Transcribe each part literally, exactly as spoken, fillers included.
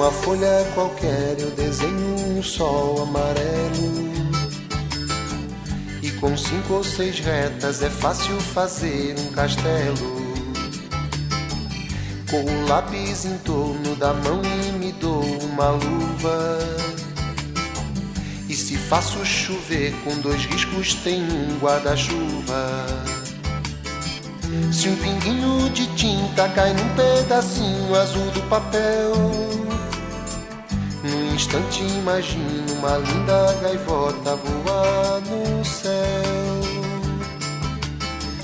Numa folha qualquer eu desenho um sol amarelo, e com cinco ou seis retas é fácil fazer um castelo. Com o lápis em torno da mão e me dou uma luva, e se faço chover com dois riscos tem um guarda-chuva. Se um pinguinho de tinta cai num pedacinho azul do papel, num instante imagino uma linda gaivota voar no céu.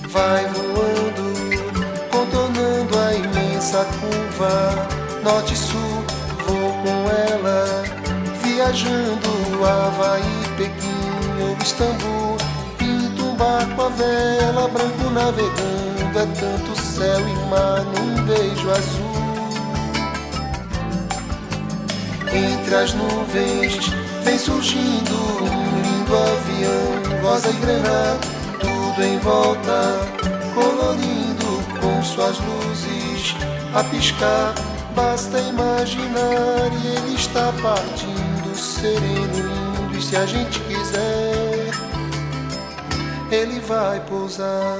Vai voando, contornando a imensa curva, norte e sul, vou com ela, viajando Havaí, Pequim ou Istambul. Pinto um barco a vela, branco navegando, é tanto céu e mar num beijo azul. Entre as nuvens vem surgindo um lindo avião, rosa e grená, tudo em volta, colorindo com suas luzes a piscar. Basta imaginar e ele está partindo, sereno, lindo, e se a gente quiser, ele vai pousar.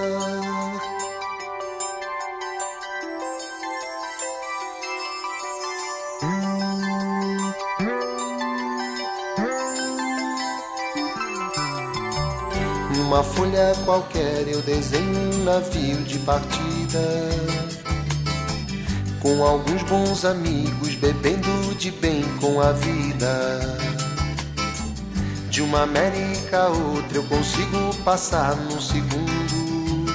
Numa folha qualquer eu desenho um navio de partida, com alguns bons amigos bebendo de bem com a vida. De uma América a outra eu consigo passar num segundo.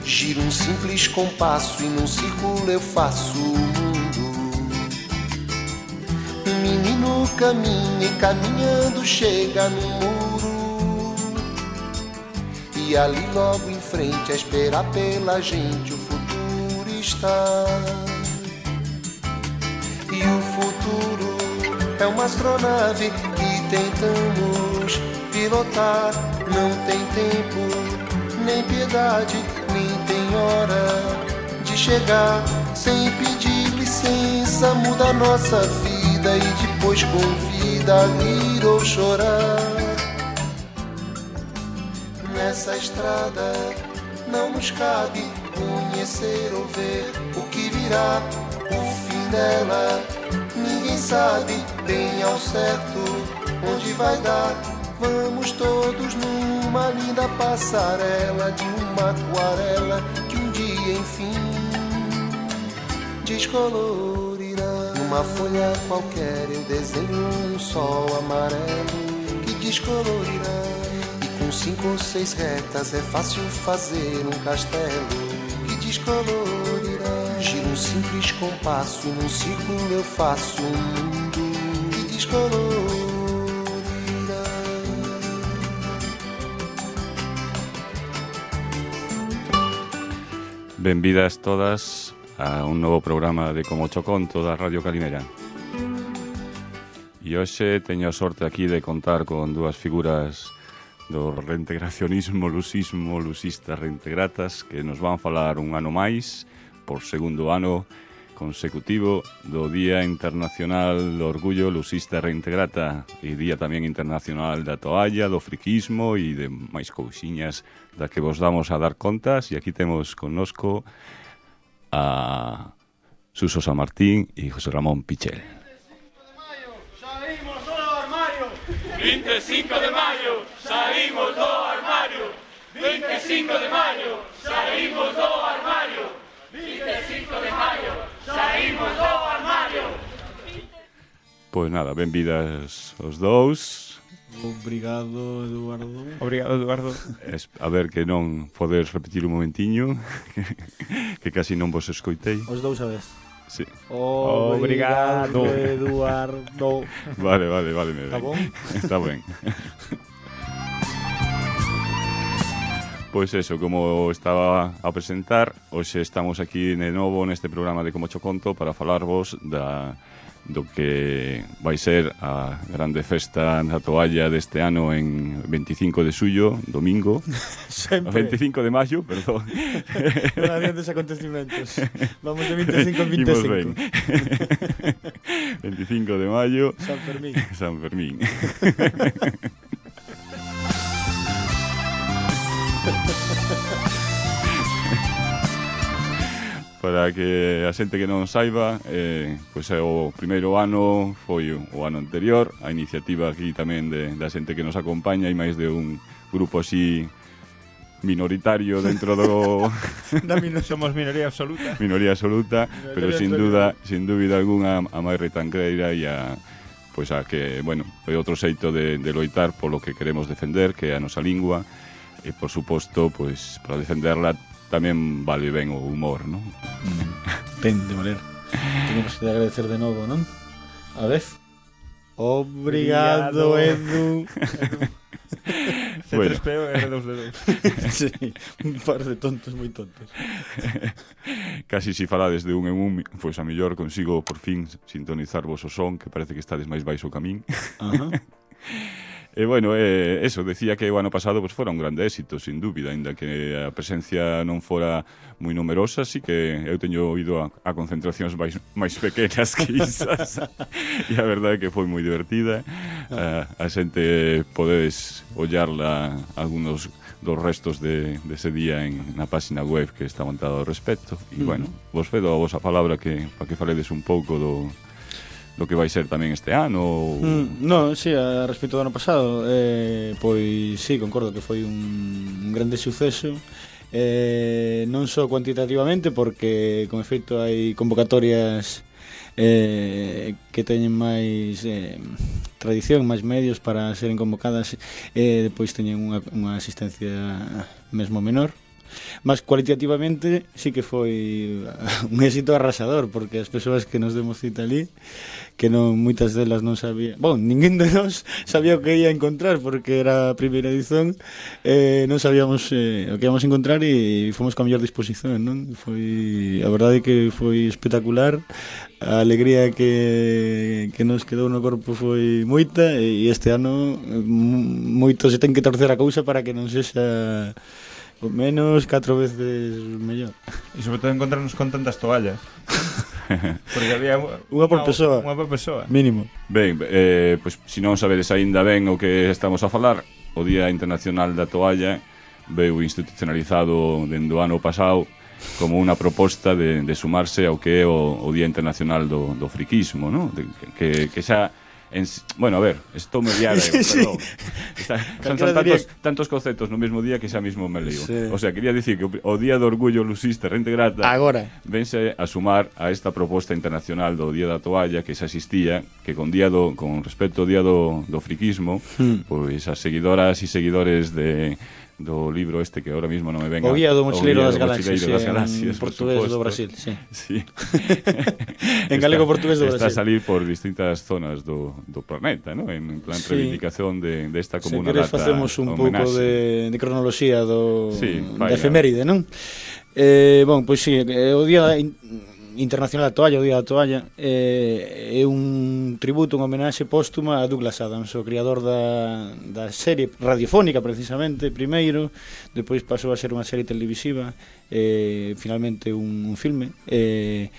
Giro um simples compasso e num círculo eu faço o mundo. Um menino caminha e caminhando chega no muro, e ali logo em frente a esperar pela gente o futuro está. E o futuro é uma astronave que tentamos pilotar. Não tem tempo, nem piedade, nem tem hora de chegar. Sem pedir licença muda a nossa vida e depois convida a rir ou chorar. Nessa estrada não nos cabe conhecer ou ver o que virá, o fim dela. Ninguém sabe bem ao certo onde vai dar. Vamos todos numa linda passarela de uma aquarela que um dia enfim descolorirá. Numa folha qualquer eu desenho um sol amarelo que descolorirá. Com cinco ou seis retas é fácil fazer um castelo que descolorirá. Giro um simples compasso e num círculo eu faço um mundo que descolorirá. Benvidas todas a un novo programa de Como Choconto da Radio Calimera. E hoxe teño a sorte aquí de contar con dúas figuras do reintegracionismo, lusismo, lusistas reintegratas, que nos van falar un ano máis, por segundo ano consecutivo, do Día Internacional do Orgullo Lusista Reintegrata e Día tamén Internacional da Toalla, do friquismo e de máis cousiñas da que vos damos a dar contas. E aquí temos connosco a Suso San Martín e José Ramón Pichel. vinte e cinco de maio, saímos do armario. vinte e cinco de maio, saímos do armario. vinte e cinco de maio, saímos do armario. Pois nada, benvidas os dous. Obrigado, Eduardo. Obrigado, Eduardo. Es, a ver que non podes repetir un momentiño, que, que casi non vos escoitei. Os dous a vez. Sí. Obrigado, Eduardo. Vale, vale, vale. Está bon? Está ben. Pois eso, como estaba a presentar, hoxe estamos aquí de novo neste programa de Como Cho Conto para falarvos da, do que vai ser a grande festa na toalla deste ano en veinticinco de xullo, domingo. Sempre. veinticinco de maio, perdón. Non adiantes acontecimentos. Vamos de veinticinco en Imos veinticinco. ben. veinticinco de maio. San Fermín. San Fermín. Para que a xente que non saiba, eh, pois é o primeiro ano, foi o ano anterior, a iniciativa aquí tamén de, da xente que nos acompaña e máis de un grupo así minoritario dentro do Da mino- Somos minoría absoluta. minoría absoluta, Minoría pero sin absoluta. duda, sin dúbida algunha a máis retranqueira e a pois a que, bueno, é outro xeito de, de loitar polo que queremos defender, que é a nosa lingua, e por suposto, pois para defenderla tamén vale ben o humor, non? Ten de valer. Tenemos que agradecer de novo, non? A vez. Obrigado, Edu. C tres P O e R dos D dos. Sí, un par de tontos moi tontos. Casi si falades de un en un, pois a mellor consigo por fin sintonizarvos o son, que parece que estades máis baixo ca min. Ajá. E bueno, eh, eso, decía que o ano pasado pues, fora un grande éxito, sin dúbida, ainda que a presencia non fora moi numerosa, sí que eu teño ido a, a concentracións máis, máis pequenas que isas, e a verdade é que foi moi divertida. A, a xente podedes ollarla algunos dos restos de, de ese día en, na página web que está montada ao respecto. E, bueno, vos fedo a vosa palabra que, para que faledes un pouco do... do que vai ser tamén este ano ou... Mm, no, sí, a respecto do ano pasado eh, pois sí, concordo que foi un, un grande suceso eh, non só cuantitativamente porque con efecto hai convocatorias eh, que teñen máis eh, tradición, máis medios para seren convocadas e eh, depois teñen unha, unha asistencia mesmo menor. Mas cualitativamente sí que foi un éxito arrasador, porque as persoas que nos demos cita ali, que non moitas delas non sabía, bon, ninguén de nós sabía o que ia encontrar porque era a primeira edición, eh, non sabíamos eh, o que íamos encontrar e fomos con a mellor disposición, non? Foi, a verdade é que foi espectacular. A alegría que, que nos quedou no corpo foi moita e este ano moito se ten que torcer a cousa para que non sexa o menos catro veces mellor. E sobre todo encontrarnos con tantas toallas. Porque había Unha por persoa. Unha por persoa. Mínimo. Ben, eh, pois se non sabedes aínda ben o que estamos a falar, o Día Internacional da Toalla veu institucionalizado dende o ano pasado como unha proposta de, de sumarse ao que é o, o Día Internacional do, do friquismo, ¿no? De, que, que xa En, bueno, a ver, estou me liada, sí, perdón. Está, son, son tantos, tantos conceptos no mesmo día que xa mismo me leo. Sí. O sea, quería dicir que o, o Día do Orgullo Lusista Rente Grata agora vense a sumar a esta proposta internacional do Día da Toalla que xa existía, que con día do, con respecto ao Día do, do friquismo, hmm. pois as seguidoras e seguidores de do libro este que ahora mismo non me venga. O Guía do Mochileiro das Galaxias, das Galaxias en portugués do Brasil, sí. Sí. En galego portugués do Brasil. Está a salir por distintas zonas do, do planeta, ¿no? En plan sí. reivindicación de, de esta comuna data. Se queres facemos un pouco de, de cronoloxía do sí, de efeméride, non? Eh, bon, pois si, sí, o Día Internacional da Toalla, o Día da Toalla, eh, é un tributo, un homenaxe póstuma a Douglas Adams, o criador da, da serie radiofónica, precisamente, primeiro, depois pasou a ser unha serie televisiva, eh, finalmente un, un filme, eh,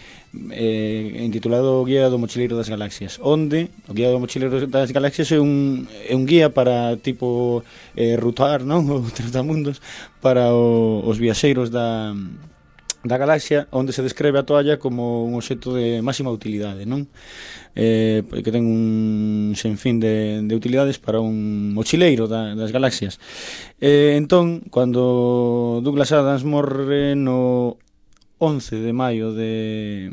eh, intitulado O Guía do Mochileiro das Galaxias, onde o Guía do Mochileiro das Galaxias é un, é un guía para tipo eh, rutar, non? O trotamundos para o, os viaxeiros da da galaxia, onde se describe a toalla como un obxecto de máxima utilidade, non? Eh, que ten un senfín de, de utilidades para un mochileiro da, das galaxias. Eh, entón, cando Douglas Adams morre no once de maio de,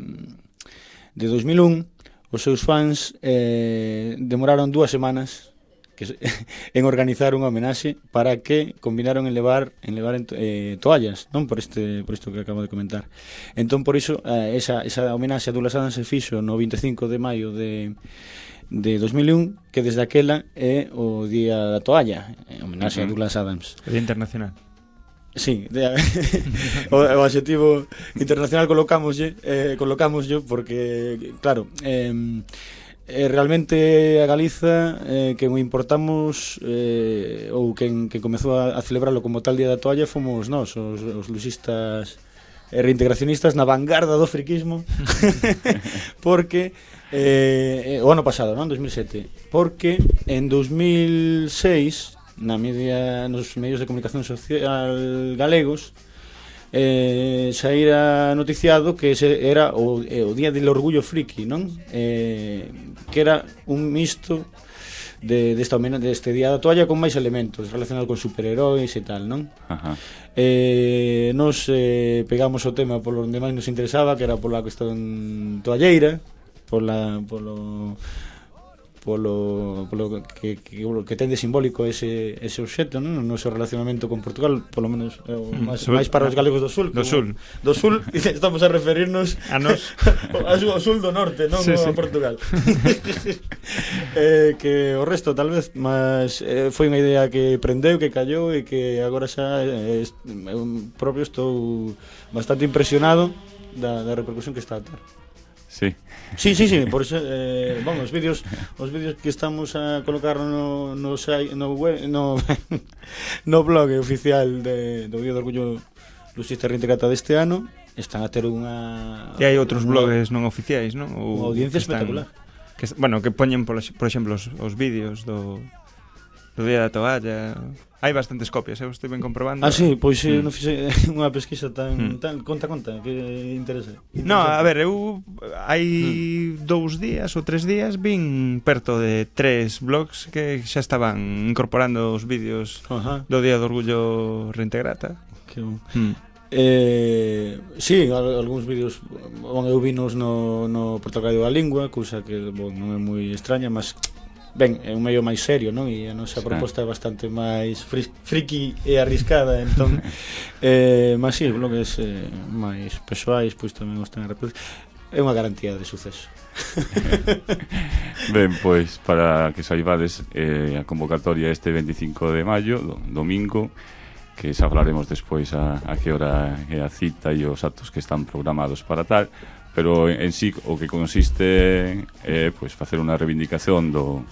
de dos mil un, os seus fans eh, demoraron dúas semanas que, en organizar unha homenaxe para que combinaron en levar en levar en, eh, toallas, non por este por isto que acabo de comentar. Entón por iso eh, esa esa homenaxe a Douglas Adams se fixo no vinte e cinco de maio de de dos mil un, que desde aquela é o Día da Toalla, homenaxe uh -huh. a Douglas Adams. O Día Internacional. Sí, de, o, o adxetivo internacional colocámoslle, eh, colocámoslle porque, claro, eh, eh, realmente a Galiza eh, que o importamos eh, ou quen que comezou a, a celebrarlo como tal Día da Toalla fomos nós, os, os luxistas e reintegracionistas na vanguarda do friquismo porque eh, o ano pasado, non? dos mil sete, porque en dos mil seis na media, nos medios de comunicación social galegos eh, saíra noticiado que ese era o, eh, o Día del Orgullo Friki, non? Eh, que era un misto de, desta, de este Día da Toalla con máis elementos relacionados con superheróis e tal, non? Ajá. Eh, nos eh, pegamos o tema polo onde máis nos interesaba, que era pola cuestión toalleira, pola, polo polo, polo que, que, que ten de simbólico ese, ese obxecto, non? O noso relacionamento con Portugal, polo menos é o máis, máis para os galegos do sul, do sul, do sul, estamos a referirnos a nos ao sul do norte, non sí, a sí. Portugal. eh, que o resto tal vez, mas eh, foi unha idea que prendeu, que callou e que agora xa eh, eu propio estou bastante impresionado da, da repercusión que está a ter. Sí. Sí, sí, sí, por eso, eh, bueno, os vídeos, os vídeos que estamos a colocar no no no web, no no blog oficial de do Día do Orgullo Luxista Reintegrata deste ano están a ter unha e hai outros blogs non oficiais, non? Ou audiencia espectacular. Que, bueno, que poñen por, por exemplo os, os vídeos do do Día da Toalla. Hai bastantes copias, eu estive comprobando. Ah, sí, pois mm. non fixe unha pesquisa tan, mm. tan conta, conta, que interesa. No, a ver, eu hai mm. dous días ou tres días vin perto de tres blogs que xa estaban incorporando os vídeos uh-huh. do Día do Orgullo Reintegrata. Que bon. Mm. Eh, sí, algúns vídeos bon, eu vinos no, no Portal da Lingua, cousa que bon, non é moi extraña, mas ben, é un medio máis serio, non? E a nosa proposta é bastante máis fri friki e arriscada, entón eh, mas si, sí, blogs eh, máis persoais, pois tamén os ten a reproducir. É unha garantía de suceso. Ben, pois, para que saibades eh, a convocatoria este veinticinco de maio, do, domingo, que xa falaremos despois a, a que hora é a cita e os actos que están programados para tal, pero en, en sí o que consiste é pois, facer unha reivindicación do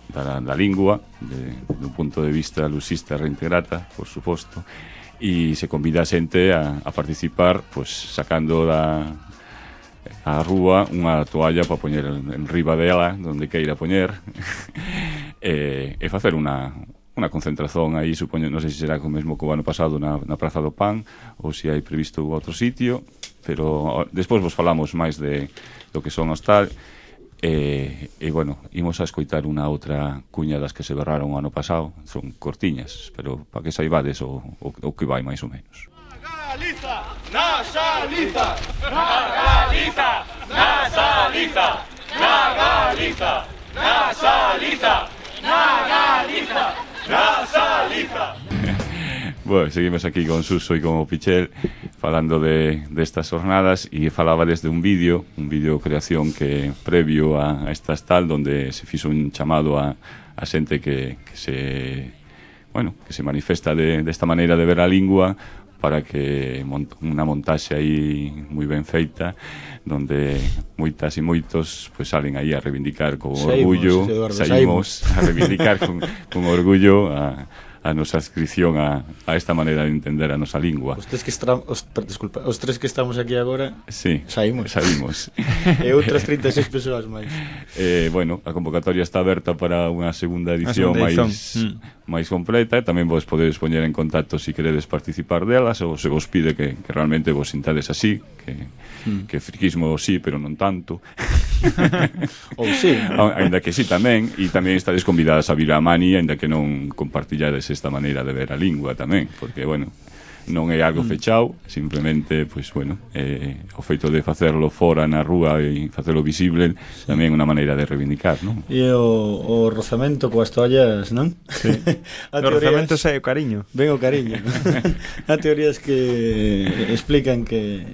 Da, da lingua de, do punto de vista luxista reintegrata, por suposto, e se convida a xente a, a participar, pues, sacando da a rúa unha toalla para poñer en riba dela onde queira poñer e, e facer unha unha concentración aí, supoño, non sei se será o mesmo que o ano pasado na, na Praza do Pan ou se hai previsto outro sitio, pero despois vos falamos máis de do que son os tal. E, e bueno, imos a escoitar unha outra cuña das que se berraron o ano pasado. Son cortiñas, pero para que saibades o, o, o que vai máis ou menos. Galiza, na Galiza, na Galiza, na Galiza, na Galiza, na Galiza, na Galiza, na Galiza. Bueno, seguimos aquí con Suso e con o Pichel falando de destas jornadas e falaba desde un vídeo, un vídeo creación que previo a, a estas tal, donde se fixo un chamado a, a xente que, que se bueno, que se manifesta de desta maneira de ver a lingua para que mont, unha montaxe aí moi ben feita donde moitas e moitos pues, salen aí a reivindicar con saímos, orgullo Eduardo, saímos, saímos a reivindicar con, con orgullo a a nosa adscripción a, a esta maneira de entender a nosa lingua. Os tres que estamos, os, disculpa, os tres que estamos aquí agora, sí, saímos. Saímos. E outras trinta e seis persoas máis. Eh, bueno, a convocatoria está aberta para unha segunda edición máis mm. máis completa, e tamén vos podedes poñer en contacto se si queredes participar delas ou se vos pide que, que realmente vos sintades así, que mm. que friquismo sí, pero non tanto. Ou sí, ainda que sí tamén, e tamén estades convidadas a vir a Mani, ainda que non compartillades esta maneira de ver a lingua tamén, porque, bueno, non é algo fechado, simplemente, pois, bueno, eh, o feito de facerlo fora na rúa e facerlo visible sí. tamén é unha maneira de reivindicar, non? E o, o rozamento coas toallas, non? Sí. O rozamento sai o cariño. Ben o cariño. Há teorías que explican que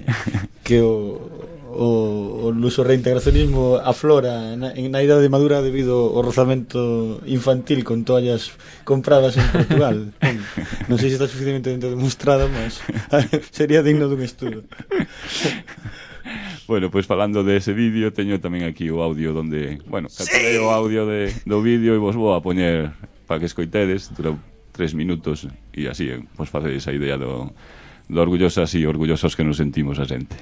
que o o, o luso reintegracionismo aflora na, na idade madura debido ao rozamento infantil con toallas compradas en Portugal. Non sei se está suficientemente demostrado, mas sería digno dun estudo. Bueno, pois pues, falando de ese vídeo, teño tamén aquí o audio donde, bueno, capturei o audio de, do vídeo e vos vou a poñer para que escoitedes, dura tres minutos e así, vos facedes a idea do, do orgullosas e orgullosos que nos sentimos a xente.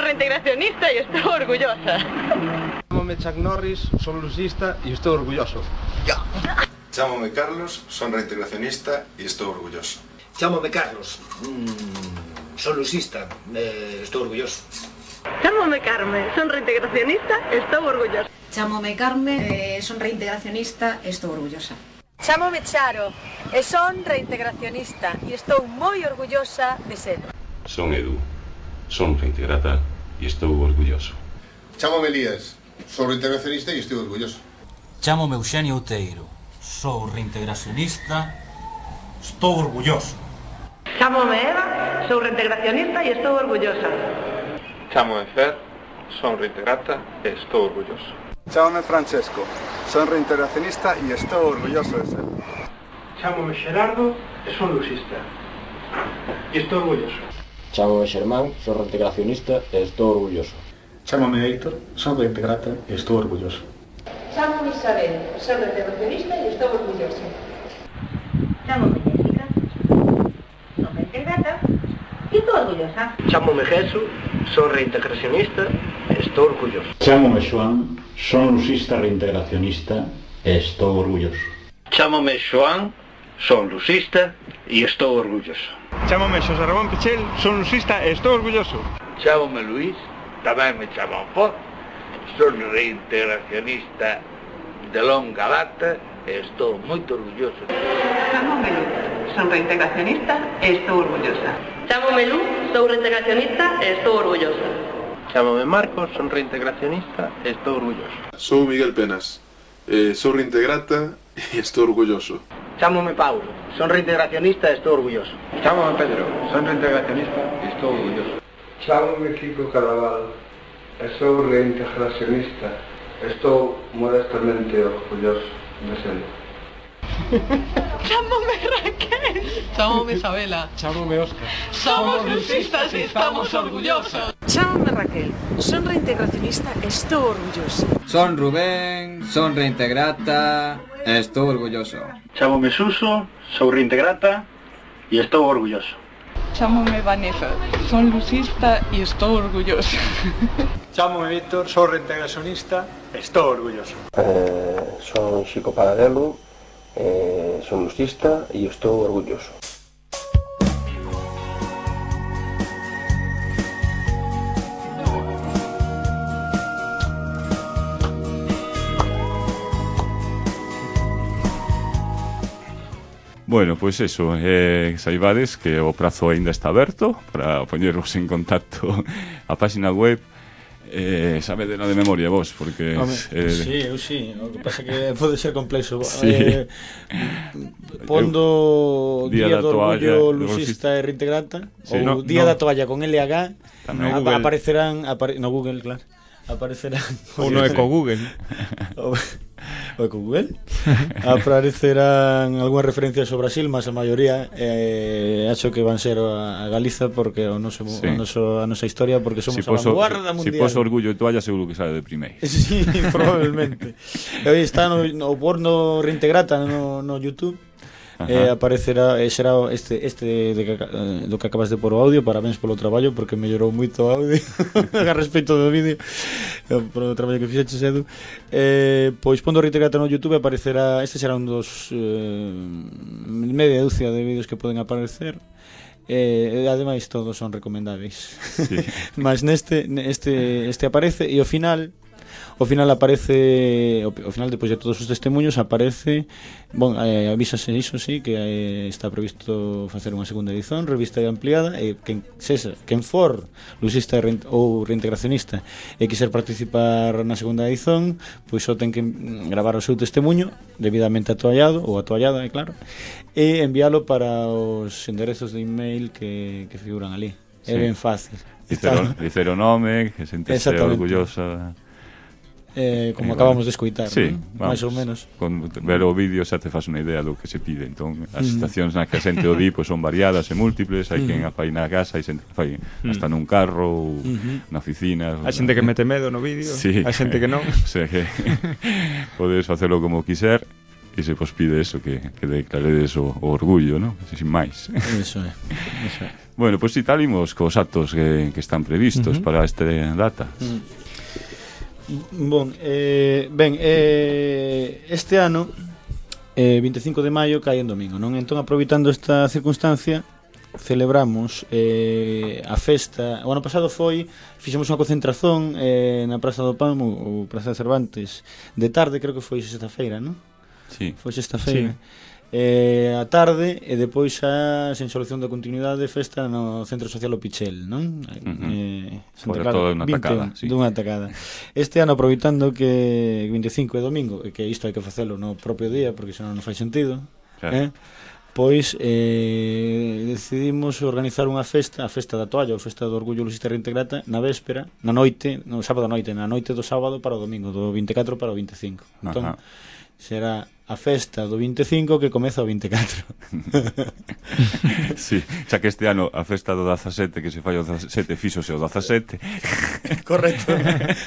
Reintegracionista y estoy orgullosa. Chámome Chuck Norris, son lusista y estoy orgulloso. Ya. Chámome Carlos, son reintegracionista y estoy orgulloso. Chámome Carlos, mm, son lusista, eh, estoy orgulloso. Chámome Carmen, son reintegracionista, estoy orgullosa. Chámome Carmen, eh, son reintegracionista, estoy orgullosa. Chámome Charo, e son reintegracionista e estou moi orgullosa de ser. Son Edu, son reintegrata e estou orgulloso. Chámome Elías, sou reintegracionista e estou orgulloso. Chámome Eugenio Outeiro, sou reintegracionista, estou orgulloso. Chámome Eva, sou reintegracionista e estou orgullosa. Chámome Fer, son reintegrata e estou orgulloso. Chámome Francesco, son reintegracionista e estou orgulloso de ser. Chámome Xerardo e son lusista e estou orgulloso. Chámome Xermán, son reintegracionista e estou orgulloso. Chámome Héctor, son reintegrata e estou orgulloso. Chámome Isabel, son reintegracionista e estou orgulloso. Chámome Jessica, son reintegrata e estou orgullosa. Chámome Jesús, son reintegracionista e estou orgulloso. Chámome Xoán, son lusista reintegracionista e estou orgulloso. Chámome Xoán, son lusista e estou orgulloso. Chámome Xosé Ramón Pichel, son lusista e estou orgulloso. Chámome Luís, tamén me chaman por, son reintegracionista de longa data e estou moito orgulloso. Chámome Lu, son reintegracionista e estou orgullosa. Chámome Lu, sou reintegracionista e estou orgullosa. Chámome Marcos, son reintegracionista e estou orgulloso. Sou Miguel Penas, eh, sou reintegrata e estou orgulloso. Chámome Paulo, son reintegracionista e estou orgulloso. Chámome Pedro, son reintegracionista e estou orgulloso. Chámome Kiko Caraval, e sou reintegracionista e estou modestamente orgulloso de ser. Chámome Raquel. Chámome Isabela. Chámome Óscar. Somos lusistas e estamos orgullosos. Chámome Raquel, son reintegracionista e estou orgulloso. Son Rubén, son reintegrata e estou orgulloso. Chámome Suso, sou reintegrata e estou orgulloso. Chámome Vanessa, son lusista e estou orgulloso. Chámome Víctor, sou reintegracionista e estou orgulloso. Eh, son Xico Paradelo, eh, son lusista e estou orgulloso. Bueno, pois pues eso, eh, saibades que o prazo aínda está aberto para poñervos en contacto a página web. Eh, sabedelo de memoria vos, porque Home, eh, sí, eu sí, o que pasa que pode ser complexo. Sí. Eh, pondo Día, Día da do toalla, Orgullo Lusista e Reintegrata, sí, ou no, Día no. da Toalla con L H, no a, Google. aparecerán apare, no Google, claro. Aparecerán ou no Eco Google. o, o Eco Google. Aparecerán algunhas referencias ao Brasil, mas a maioría eh, acho que van ser a, a Galiza porque o noso, sí. o noso, a nosa historia porque somos si a vanguarda mundial. Si poso Orgullo de Toalla seguro que sale de primeiro. Sí, probablemente. Hoy está no, no porno Reintegrata no, no YouTube. Eh, aparecerá eh, será este este de que, eh, do que acabas de pôr o audio. Parabéns polo traballo porque mellorou moito o audio a respecto do vídeo, eh, polo traballo que fixeches, Edu. Eh, pois pondo Reintegrata no YouTube aparecerá, este será un dos eh, media dúcia de vídeos que poden aparecer. Eh, ademais todos son recomendáveis. Sí. Mas neste este este aparece e ao final ao final aparece, ao, ao final depois de todos os testemunhos aparece, bon, eh, avísase iso, sí, que eh, está previsto facer unha segunda edición, revista ampliada, e quen sexa, quen for lusista ou reintegracionista e quiser participar na segunda edición, pois só ten que gravar o seu testemunho debidamente atoallado ou atoallada, é claro, e enviálo para os enderezos de email que, que figuran ali. Sí. É ben fácil. Dicer o nome, que sentese orgullosa. Eh, como eh, acabamos de escoitar, sí, ¿no? Máis ou menos. Con ver o vídeo xa te faz unha idea do que se pide. Entón, as estacións nas que a xente o di pois son variadas e múltiples. Hai quen a fai na casa, hai xente que fai hasta nun carro ou na oficina. Hai xente que mete medo no vídeo, sí. Hai xente que non. O sea que podes facelo como quiser e se vos pide eso, que, que declaredes o, o orgullo, ¿no? Sin máis. Eso é, eso é. Bueno, pois pues, si talimos cos actos que, que están previstos uh -huh. para esta data. Uh -huh. Bon, eh, ben, eh, este ano eh, vinte e cinco de maio cae en domingo, non? Entón, aproveitando esta circunstancia, celebramos eh, a festa. O ano pasado foi, fixemos unha concentración eh, na Praza do Pan ou Praza de Cervantes de tarde, creo que foi sexta-feira, non? Sí. Foi sexta-feira. Sí. Eh, a tarde e depois a sen solución de continuidade festa no Centro Social O Pichel, non? Uh -huh. eh, Fora todo unha tacada, sí. Dunha tacada. Este ano, aproveitando que vinte e cinco é domingo e que isto hai que facelo no propio día porque senón non fai sentido, claro. eh? Pois eh, decidimos organizar unha festa, a festa da toalla, ou festa do orgullo lusista reintegrata, na véspera, na noite, no sábado noite, na noite do sábado para o domingo, do vinte e catro para o vinte e cinco. Entón, uh -huh. será a festa do vinte e cinco que comeza o vinte e catro. Sí, xa que este ano a festa do dezasete que se fai o dezasete fíxose o dezasete. Correcto.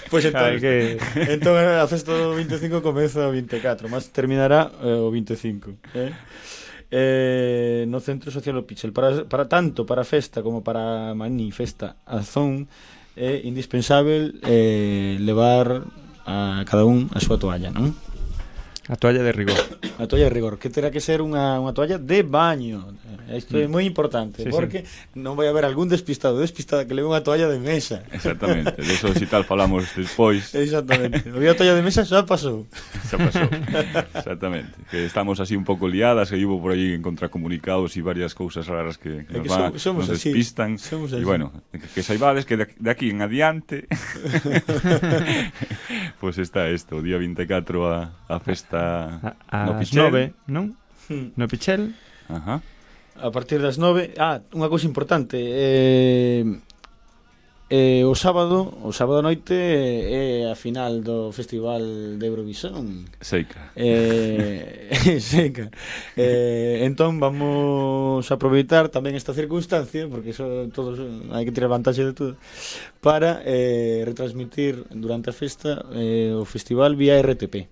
Pois pues entón, que... entón a festa do vinte e cinco comeza o vinte e catro, mas terminará eh, o vinte e cinco, eh? Eh, no Centro Social O Pichel. Para, para tanto para a festa como para a manifesta azón é indispensable eh, levar a cada un a súa toalla, non? A toalla de rigor. A toalla de rigor, que terá que ser unha, unha toalla de baño. Isto é moi importante, sí, porque sí. non vai haber algún despistado despistada que leve unha toalla de mesa. Exactamente, de eso si tal falamos despois. Exactamente, o día toalla de mesa xa pasou. Xa pasou, exactamente. Que estamos así un pouco liadas, que hubo por aí en contracomunicados e varias cousas raras que, que, nos, que van, somos nos despistan. E bueno, que, que saibades que de, de aquí en adiante pois pues está isto, o día vinte e catro a, a festa a, a no Pichel. nove, non? Hmm. No Pichel. Ajá. A partir das nove, ah, unha cousa importante, eh, eh, o sábado, o sábado noite é a final do Festival de Eurovisión. Seica. Eh, seica. Eh, entón vamos a aproveitar tamén esta circunstancia, porque eso todos hai que tirar vantaxe de todo, para eh, retransmitir durante a festa eh, o festival vía R T P.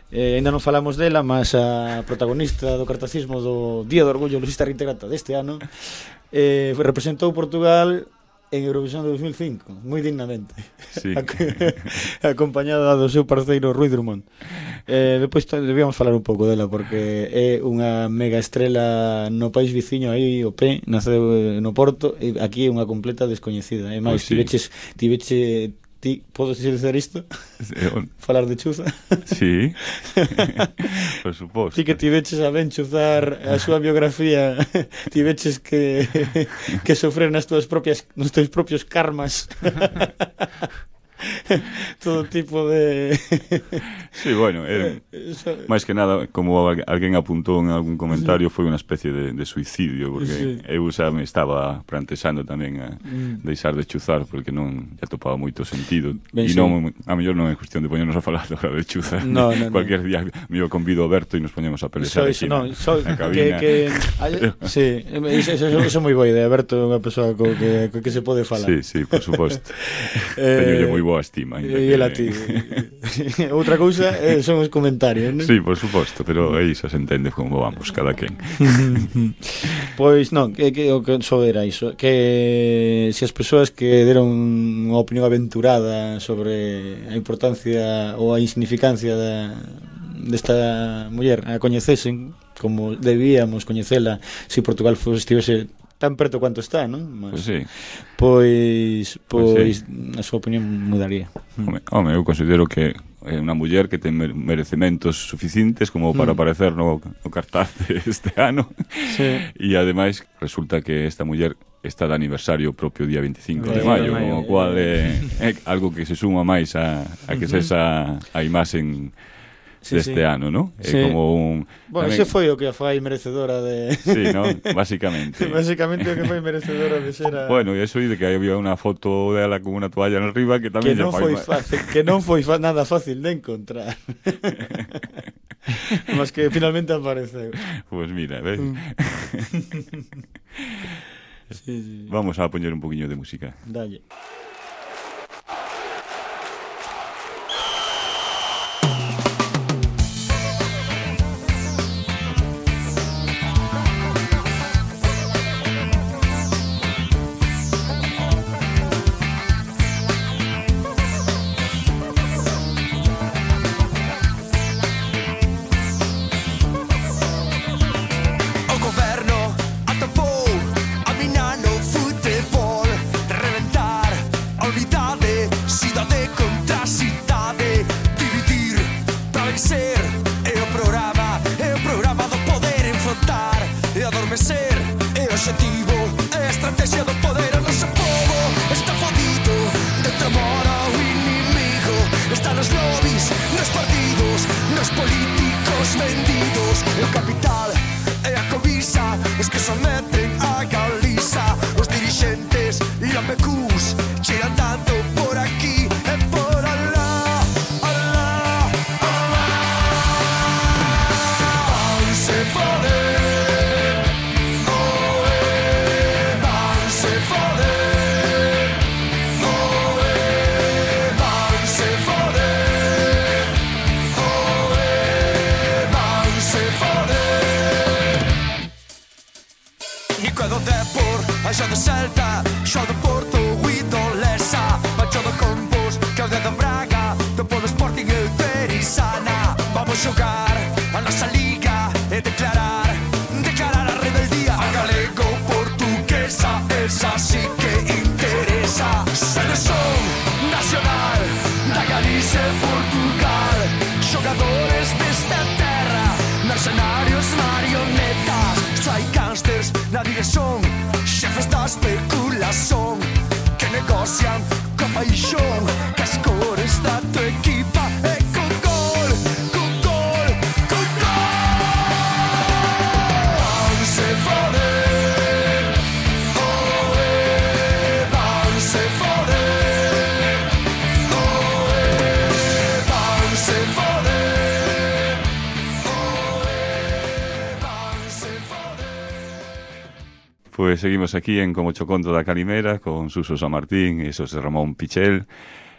Eh, ainda non falamos dela, mas a protagonista do cartacismo do Día do Orgullo lusista reintegrata deste ano eh, representou Portugal en Eurovisión de dos mil cinco, moi dignamente, sí. acompañada do seu parceiro Rui Drummond. Eh, depois debíamos falar un pouco dela porque é unha mega estrela no país viciño aí o P, naceu no Porto e aquí é unha completa descoñecida. E máis, pues sí. tiveches, tiveche ti, podes dizer isto? Falar de chuza? Sí, por suposto. Ti que tiveches a ben chuzar a súa biografía, tiveches que que sofrer nas túas propias, nos teus propios karmas. Todo tipo de... Sí, bueno, eh, máis que nada, como alguén apuntou en algún comentario, sí. foi unha especie de, de suicidio, porque sí. eu xa me estaba plantexando tamén a mm. deixar de chuzar, porque non ya topaba moito sentido. E non, a mellor non é cuestión de poñernos a falar agora de chuzar. No, no, Cualquier no. día me convido a Berto e nos poñemos a pelexar aquí no, na, so, na cabina. Que, que, sí, eso, eso, eso é moi boa idea. Berto é unha persoa co que, co que se pode falar. Sí, sí, por suposto. eh, Teñolle moi boa estima. E el a ti. Outra cousa eh, son os comentarios, non? Sí, por suposto, pero aí xa se entende como vamos cada quen. Pois non, que, que o que só era iso, que se as persoas que deron unha opinión aventurada sobre a importancia ou a insignificancia da desta muller a coñecesen como debíamos coñecela se Portugal fose, estivese tan preto quanto está, non? Mas, pois sí. Pois, pois, sí. A súa opinión mudaría. Home, home, eu considero que é unha muller que ten merecementos suficientes como para mm. aparecer no, no cartaz este ano. Sí. E ademais resulta que esta muller está de aniversario propio día veinticinco de maio, o cual é, é algo que se suma máis a, a que uh-huh. sexa a imaxen sí, deste sí. ano, ¿no? É sí. como un... Bueno, tamén... ese foi o que foi merecedora de... Sí, ¿no? Básicamente. Básicamente o que foi merecedora de ser a... Bueno, e eso de que había unha foto dela con unha toalla en arriba que tamén... Que non foi fácil, que non foi fa nada fácil de encontrar. Mas que finalmente apareceu. Pues mira, ves? Sí, sí. Vamos a poñer un poquinho de música. Dalle. Pues seguimos aquí en Como Choconto da Calimera con Suso San Martín e Xosé Ramón Pichel.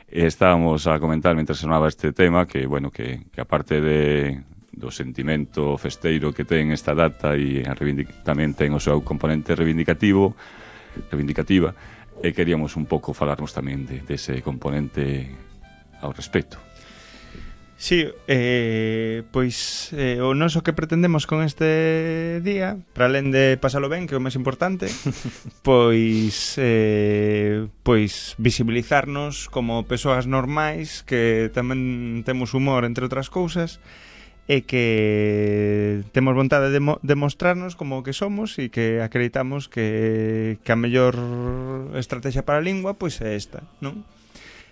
E estábamos a comentar mentre sonaba este tema que, bueno, que, que aparte de do sentimento festeiro que ten esta data e a tamén ten o seu componente reivindicativo reivindicativa e queríamos un pouco falarnos tamén de, de ese componente ao respecto. Sí, eh, pois eh, o noso que pretendemos con este día, para alén de pasalo ben, que é o máis importante, pois eh, pois visibilizarnos como persoas normais que tamén temos humor, entre outras cousas, e que temos vontade de mo demostrarnos como que somos e que acreditamos que, que a mellor estrategia para a lingua pois é esta, non?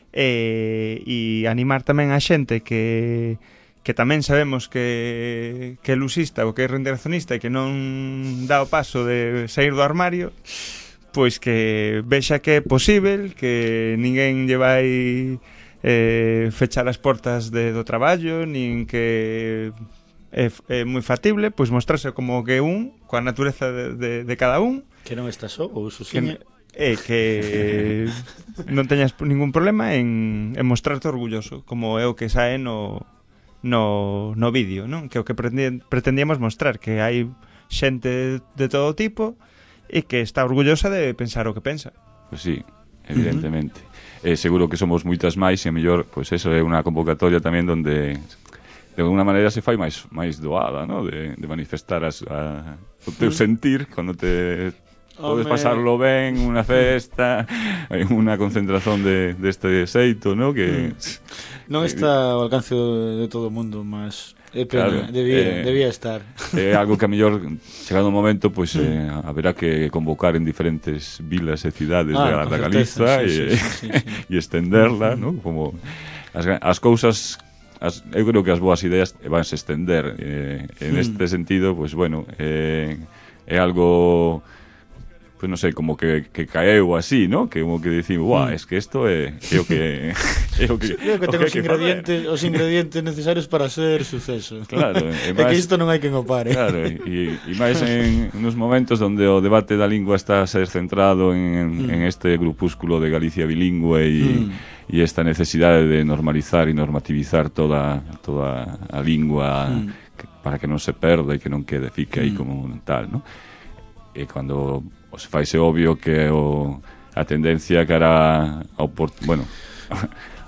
E, e animar tamén a xente que, que tamén sabemos que, que é lusista ou que é reintegracionista e que non dá o paso de sair do armario, pois que vexa que é posible, que ninguén lle vai eh, fechar as portas de, do traballo, nin que é, é moi factible, pois mostrarse como que un, coa natureza de, de, de cada un, que non está só, ou susiña, e que non teñas ningún problema en, en mostrarte orgulloso, como é o que sae no, no, no vídeo, non? Que é o que pretendíamos mostrar, que hai xente de todo tipo e que está orgullosa de pensar o que pensa. Pois sí, evidentemente. Uh-huh. Eh, seguro que somos moitas máis e a mellor, pois eso é unha convocatoria tamén donde de alguna maneira se fai máis máis doada, ¿no? De, de manifestar as, a, o teu sentir cando te podes pasarlo ben, unha festa, unha concentración de deste xeito, ¿no? Que mm. non está ao alcance de todo o mundo, mas é pena, claro, debía, eh, debía estar. É algo que a mellor chegado o momento, pois pues, eh, haberá que convocar en diferentes vilas e cidades ah, da, da Galiza e sí, sí, sí, sí, sí. estenderla, ¿no? Como as, as cousas As, eu creo que as boas ideas vanse estender eh, en este mm. sentido, pois pues, bueno eh, é algo pois pues, non sei, como que, que caeu así, ¿no? Que como que dicimos, guau, mm. es que isto é, é o que é o que, creo que ten os ingredientes os ingredientes necesarios para ser suceso. Claro, é que isto non hai que opar, eh? Claro, e, e máis en nos momentos onde o debate da lingua está a ser centrado en, mm. en este grupúsculo de Galicia bilingüe e mm. e esta necesidade de normalizar e normativizar toda toda a lingua mm. que, para que non se perda e que non quede fique aí mm. como tal, ¿no? E cando se faise obvio que o, a tendencia cara ao bueno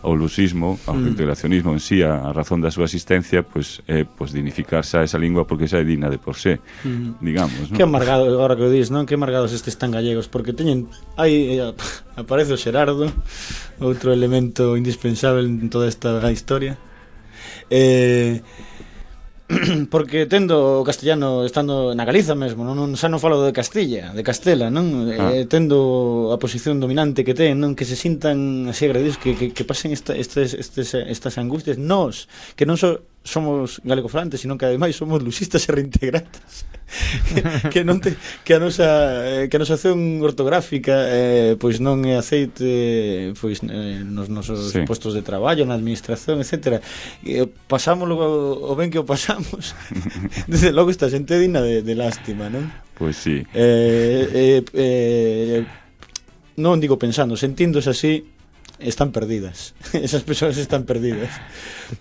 ao lusismo, ao mm. integracionismo en sí, a, a razón da súa existencia, pois pues, é pues, dignificarse a esa lingua porque xa é digna de por sé, mm. digamos, ¿no? Que amargado, agora que o dis, non? Que amargados estes tan gallegos, porque teñen aí eh, aparece o Xerardo, outro elemento indispensable en toda esta historia. Eh porque tendo o castellano estando na Galiza mesmo, non, non xa non falo de Castilla, de Castela, non? Ah. Eh, tendo a posición dominante que ten, non? Que se sintan así agredidos, que, que, que pasen esta, estes, estes, estas angustias, nós, que non so, somos galegofalantes, sino que ademais somos lusistas e reintegratas. que, que non te, que a nosa que a nosa acción ortográfica eh, pois non é aceite pois eh, nos nosos sí. postos de traballo, na administración, etcétera. E pasámoslo o, o ben que o pasamos. Desde logo esta xente digna de, de lástima, non? Pois sí. Eh, eh, eh, non digo pensando, sentíndose así, están perdidas. Esas persoas están perdidas.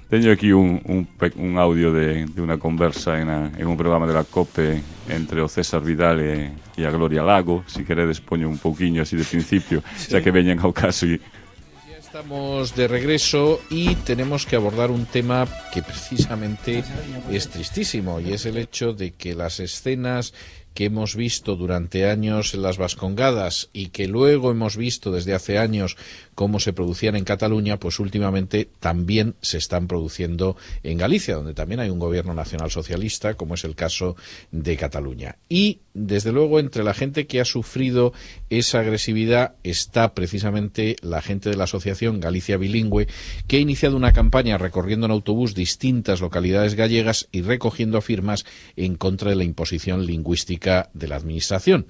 Teño aquí un, un, un audio de, de unha conversa en, a, en un programa de la COPE entre o César Vidal e, e a Gloria Lago. Si queredes poño un pouquiño así de principio, sí. Xa que veñen ao caso. Y... Ya estamos de regreso y tenemos que abordar un tema que precisamente es tristísimo, y es el hecho de que las escenas que hemos visto durante años en las Vascongadas y que luego hemos visto desde hace años cómo se producían en Cataluña, pues últimamente también se están produciendo en Galicia, donde también hay un gobierno nacional socialista, como es el caso de Cataluña. Y, desde luego, entre la gente que ha sufrido esa agresividad está precisamente la gente de la asociación Galicia Bilingüe, que ha iniciado una campaña recorriendo en autobús distintas localidades gallegas y recogiendo firmas en contra de la imposición lingüística de la Administración.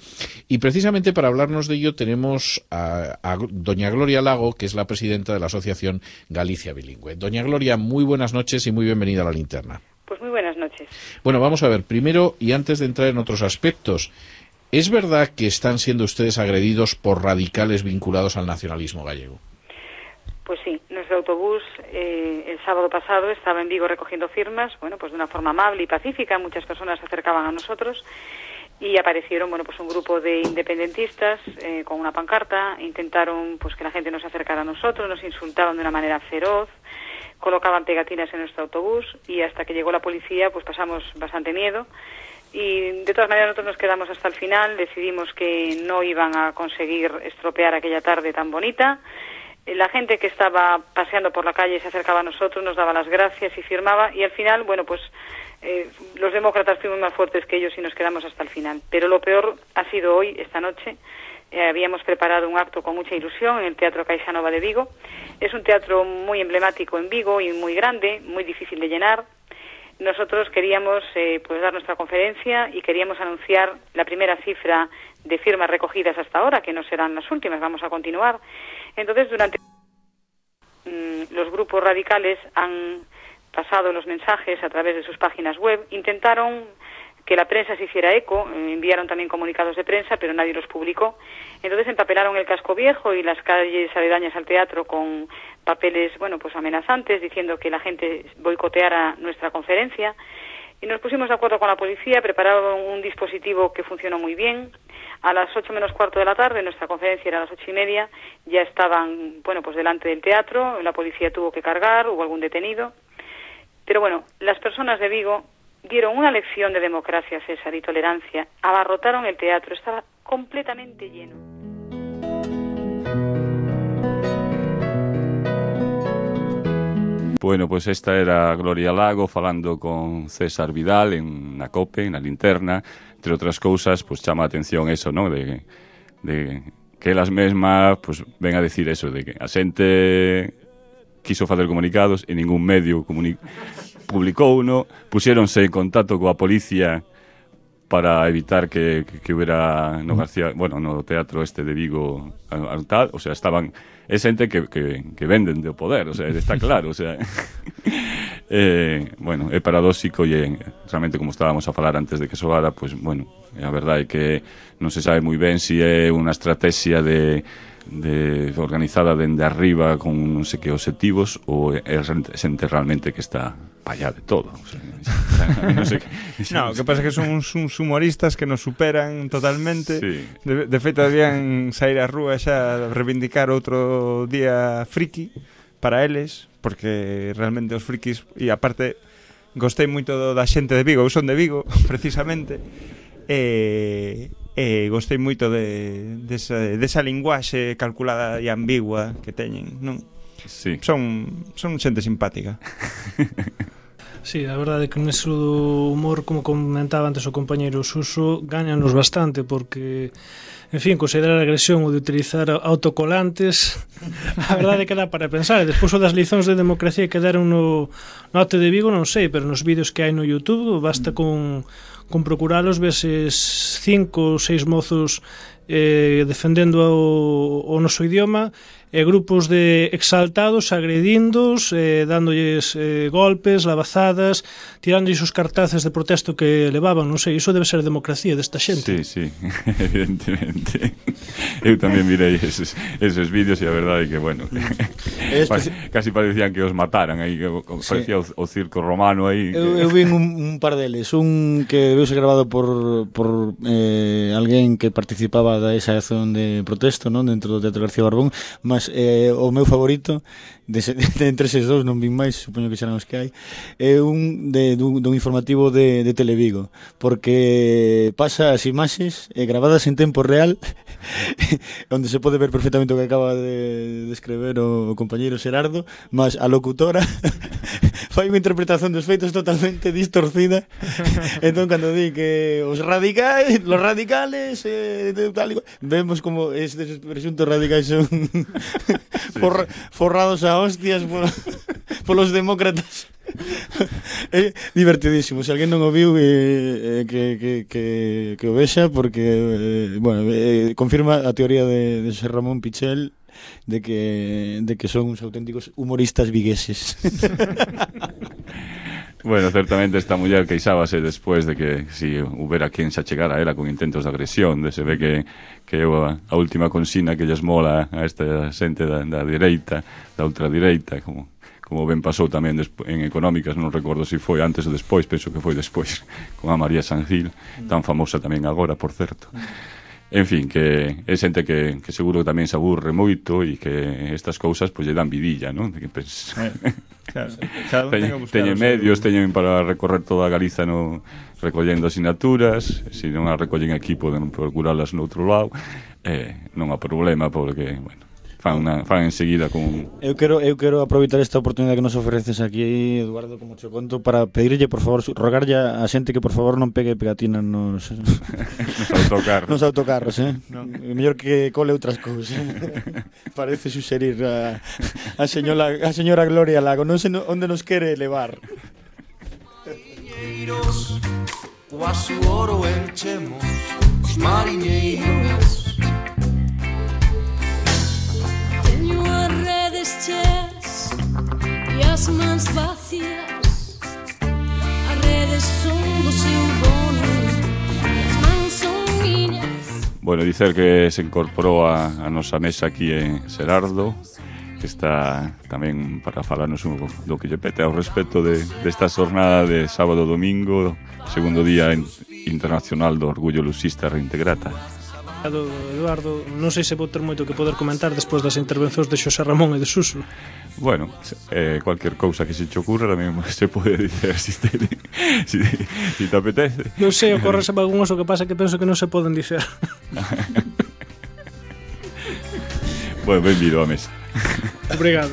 Y precisamente para hablarnos de ello tenemos a, a doña Gloria Lago, que es la presidenta de la asociación Galicia Bilingüe. Doña Gloria, muy buenas noches y muy bienvenida a La Linterna. Pues muy buenas noches. Bueno, vamos a ver, primero, y antes de entrar en otros aspectos, ¿es verdad que están siendo ustedes agredidos por radicales vinculados al nacionalismo gallego? Pues sí, nuestro autobús eh, el sábado pasado estaba en Vigo recogiendo firmas, bueno, pues de una forma amable y pacífica, muchas personas se acercaban a nosotros y aparecieron, bueno, pues un grupo de independentistas eh, con una pancarta, intentaron pues que la gente no se acercara a nosotros, nos insultaban de una manera feroz, colocaban pegatinas en nuestro autobús y hasta que llegó la policía pues pasamos bastante miedo y de todas maneras nosotros nos quedamos hasta el final, decidimos que no iban a conseguir estropear aquella tarde tan bonita. La gente que estaba paseando por la calle se acercaba a nosotros, nos daba las gracias y firmaba y al final, bueno, pues eh, los demócratas fuimos más fuertes que ellos y nos quedamos hasta el final. Pero lo peor ha sido hoy, esta noche. Eh, habíamos preparado un acto con mucha ilusión en el Teatro Caixanova de Vigo. Es un teatro muy emblemático en Vigo y muy grande, muy difícil de llenar. Nosotros queríamos eh, pues dar nuestra conferencia y queríamos anunciar la primera cifra de firmas recogidas hasta ahora, que no serán las últimas, vamos a continuar. Entonces, durante mmm, los grupos radicales han pasado los mensajes a través de sus páginas web, intentaron que la prensa se hiciera eco, eh, enviaron también comunicados de prensa, pero nadie los publicó. Entonces empapelaron el casco viejo y las calles aledañas al teatro con papeles, bueno, pues amenazantes, diciendo que la gente boicoteara nuestra conferencia. Y nos pusimos de acuerdo con la policía, prepararon un dispositivo que funcionó muy bien. A las ocho menos cuarto de la tarde, nuestra conferencia era a las ocho y media, ya estaban, bueno, pues delante del teatro, la policía tuvo que cargar, hubo algún detenido. Pero bueno, las personas de Vigo dieron una lección de democracia, César, y tolerancia. Abarrotaron el teatro, estaba completamente lleno. Bueno, pois pues esta era Gloria Lago falando con César Vidal en na COPE, na linterna. Entre outras cousas, pois pues, chama a atención eso, ¿no? De, de que elas mesmas pues, ven a decir eso, de que a xente quiso facer comunicados e ningún medio comuni- publicou uno, puxéronse en contacto coa policía para evitar que, que, que hubiera no García, bueno, no teatro este de Vigo al tal, o sea, estaban é xente que, que, que venden do poder, o sea, está claro, o sea, eh, bueno, é paradóxico e realmente como estábamos a falar antes de que soara, pues bueno, a verdade é que non se sabe moi ben se si é unha estrategia de de organizada dende arriba con non sei que objetivos ou é xente realmente que está pallá de todo, o sea, non sei que... No, o que pasa é que son uns, uns humoristas que nos superan totalmente, sí. de, de feito debían sair á rúa xa reivindicar outro día friki para eles, porque realmente os frikis, e aparte gostei moito da xente de Vigo, eu son de Vigo precisamente, e e gostei moito de desa, desa linguaxe calculada e ambigua que teñen, non? Sí. Son son xente simpática. Sí, a verdade é que nese humor, como comentaba antes o compañeiro Suso, gáñanos bastante porque, en fin, considerar agresión ou de utilizar autocolantes, a verdade é que dá para pensar. E despois o das licións de democracia que deron no, no Acto de Vigo, non sei, pero nos vídeos que hai no YouTube basta con, con procuralos, veses cinco ou seis mozos eh, defendendo o, o noso idioma, e grupos de exaltados agredindos, eh, dándolles eh, golpes, lavazadas, tirándoles os cartaces de protesto que levaban, non sei, iso debe ser democracia desta xente. Sí, sí, evidentemente. Eu tamén mirei eses, eses vídeos e a verdade é que, bueno, mm. casi parecían que os mataran aí, que parecía sí. o, o circo romano aí. Eu, eu vi un, un par deles, un que debeu ser grabado por, por eh, alguén que participaba da esa acción de protesto, non, dentro do Teatro García Barbón, mas eh, o meu favorito de, de entre eses dous, non vin máis, supoño que serán os que hai, é un de, dun, dun informativo de, de Televigo, porque pasa as imaxes eh, gravadas en tempo real onde se pode ver perfectamente o que acaba de, de escrever o, o compañeiro Xerardo, mas a locutora fai unha interpretación dos feitos totalmente distorcida. Entón, cando di que os radicales, los radicales eh, tal, vemos como estes presuntos radicais son for, forrados a hostias por, polos demócratas. É divertidísimo. Se alguén non o viu, eh, que, que, que, que o vexa, porque eh, bueno, eh, confirma a teoría de, de José Ramón Pichel de que, de que son uns auténticos humoristas vigueses. Bueno, certamente esta muller queixábase despois de que si houbera quen se achegara a ela con intentos de agresión, de se ve que que a, a última consigna que lles mola a esta xente da, da direita, da ultradireita, como como ben pasou tamén en Económicas, non recordo se foi antes ou despois, penso que foi despois, con a María Sangil, tan famosa tamén agora, por certo. En fin, que é xente que, que seguro que tamén se aburre moito e que estas cousas pois lle dan vidilla, non? Que, pues, eh, claro, teñen, teñen medios, teñen para recorrer toda a Galiza no, recollendo asinaturas, se non a recollen aquí poden procuralas no outro lado, eh, non há problema porque, bueno, fan, una, fan enseguida con... Eu quero, eu quero aproveitar esta oportunidade que nos ofreces aquí, Eduardo, como che conto, para pedirlle, por favor, rogarlle a xente que por favor non pegue pegatinas nos nos autocarros. Nos autocarros, eh? No. Mellor que cole outras cousas. Parece suxerir a, a señora a señora Gloria Lago, non sei onde nos quere levar. O a su oro enchemos os mariñeiros. Chas e as mans vacías, as redes son do seu dono e as mans son miñas. Bueno, dicer que se incorporou a, a nosa mesa aquí en Xerardo, que está tamén para falarnos un, do que lle pete ao respecto de, desta xornada de sábado domingo, segundo día internacional do Orgullo Luxista Reintegrata. Eduardo, non sei se vou ter moito que poder comentar despois das intervencións de Xosé Ramón e de Suso. Bueno, eh, cualquier cousa que se te ocurra tamén se pode dicer si te, si, si te apetece. Non sei, ocorre algún oso que pasa que penso que non se poden dicer. Bueno, benvido á mesa. Obrigado.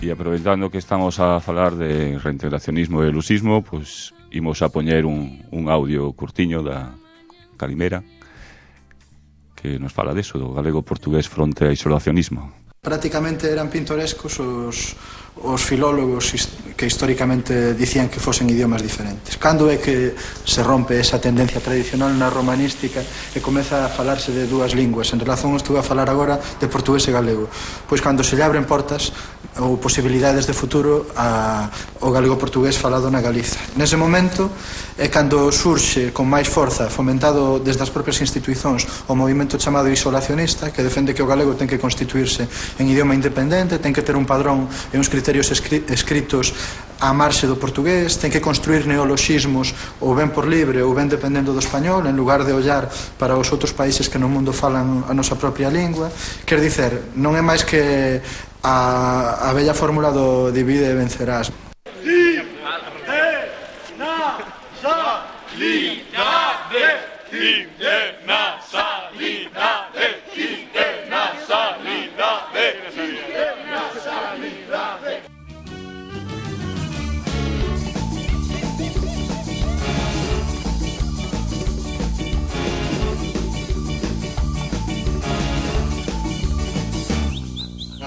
E aproveitando que estamos a falar de reintegracionismo e lusismo, pois imos a poñer un, un audio curtiño da Calimera que nos fala deso, do galego-portugués fronte ao isolacionismo. Prácticamente eran pintorescos os, os filólogos que históricamente dicían que fosen idiomas diferentes. Cando é que se rompe esa tendencia tradicional na romanística e comeza a falarse de dúas linguas? En relación, estou a falar agora de portugués e galego. Pois cando se lle abren portas ou posibilidades de futuro a, o galego-portugués falado na Galiza. Nese momento é cando surxe con máis forza, fomentado desde as propias institucións, o movimento chamado isolacionista, que defende que o galego ten que constituirse en idioma independente, ten que ter un padrón e uns criterios escri escritos á marxe do portugués, ten que construir neoloxismos ou ben por libre ou ben dependendo do español, en lugar de ollar para os outros países que no mundo falan a nosa propia lingua. Quer dicer, non é máis que a, a bella fórmula do divide e vencerás.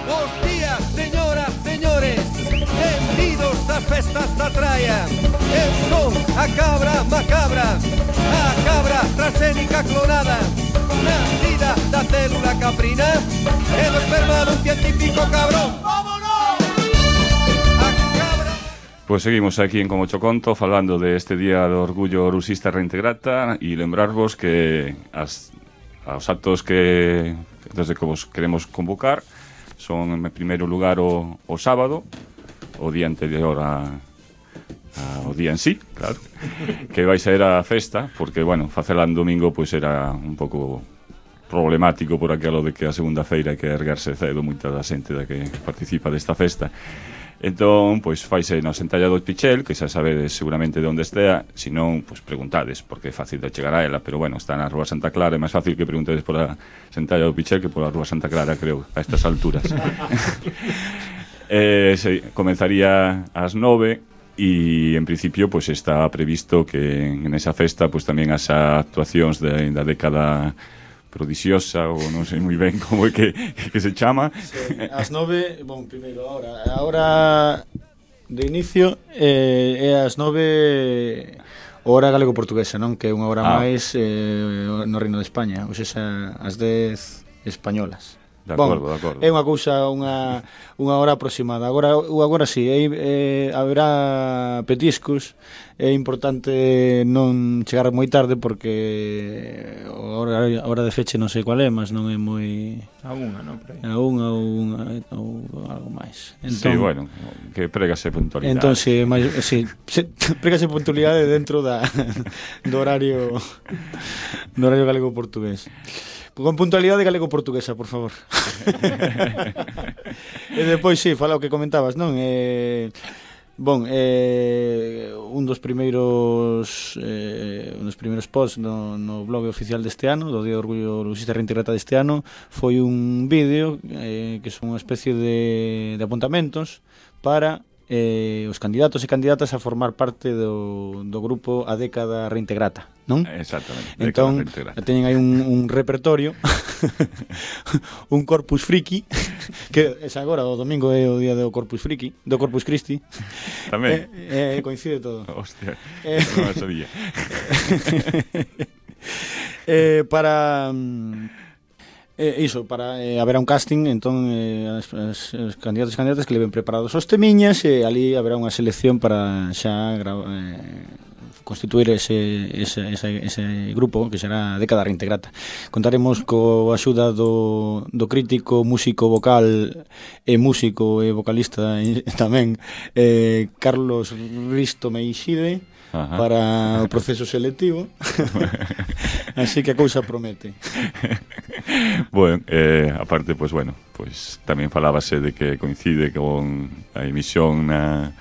Bos días, señoras, señores, benvidos ás festas da traia. Eu son a cabra macabra, a cabra transgénica clonada, nacida da célula caprina e do esperma dun científico cabrón. Vámonos! A cabra... Pois seguimos aquí en Como Cho Conto falando de este Día do Orgullo Lusista Reintegrata e lembrarvos que as, os actos que desde que vos queremos convocar son en primeiro lugar o, o sábado, o día anterior a, a, o día en sí, claro, que vai ser a festa, porque, bueno, facela en domingo pois era un pouco problemático por aquilo de que a segunda feira hai que erguerse cedo moita da xente da que participa desta festa. Entón, pois faise no Sentalla do Pichel, que xa sabedes seguramente de onde estea, se non, pois preguntades, porque é fácil de chegar a ela, pero bueno, está na Rúa Santa Clara, é máis fácil que preguntedes pola Sentalla do Pichel que pola Rúa Santa Clara, creo, a estas alturas. eh, se, comenzaría ás nove e en principio pois está previsto que en esa festa pois tamén as actuacións de, da década prodixiosa, ou non sei moi ben como é que, que se chama. Sí, as nove, bon, primeiro, ahora, a hora de inicio eh, é as nove hora galego-portuguesa, non? Que é unha hora ah. máis eh, no Reino de España, ou seja, as dez españolas. De acordo, bon, de acordo. É unha cousa, unha, unha hora aproximada. Agora, agora sí, é, é, haberá petiscos. É importante non chegar moi tarde porque a hora, a hora de feche non sei qual é, mas non é moi... A unha, non? A unha ou, unha, ou algo máis. Entón, sí, bueno, que pregase puntualidade. Entón, sí, máis, sí, pregase puntualidade dentro da, do horario do horario galego-portugués. Con puntualidade galego-portuguesa, por favor. E depois, sí, fala o que comentabas, non? Eh... Bon, eh, un dos primeiros eh, un dos primeiros posts no, no blog oficial deste ano, do Día do Orgullo Lusista Reintegrata deste ano, foi un vídeo eh, que son unha especie de, de apuntamentos para eh, os candidatos e candidatas a formar parte do, do grupo A Década Reintegrata, non? Exactamente. Entón, teñen aí un, un repertorio, un Corpus Friki, que es agora, o domingo é o día do Corpus Friki, do Corpus Christi. Tamén. Eh, eh, coincide todo. Hostia, eh, non o sabía. eh, para... Eh, iso, para eh, haberá un casting, entón eh, as, as, as candidatos e candidatas que leven preparados os temiñas e ali haberá unha selección para xa gra- eh, constituir ese, ese, ese, ese grupo que será Década Reintegrata. Contaremos co axuda do, do crítico, músico vocal e músico e vocalista e, tamén eh, Carlos Risto Meixide. Ajá. Para o proceso selectivo. Así que a cousa promete. Bueno, eh, aparte, pues bueno, pues tamén falábase de que coincide con a emisión na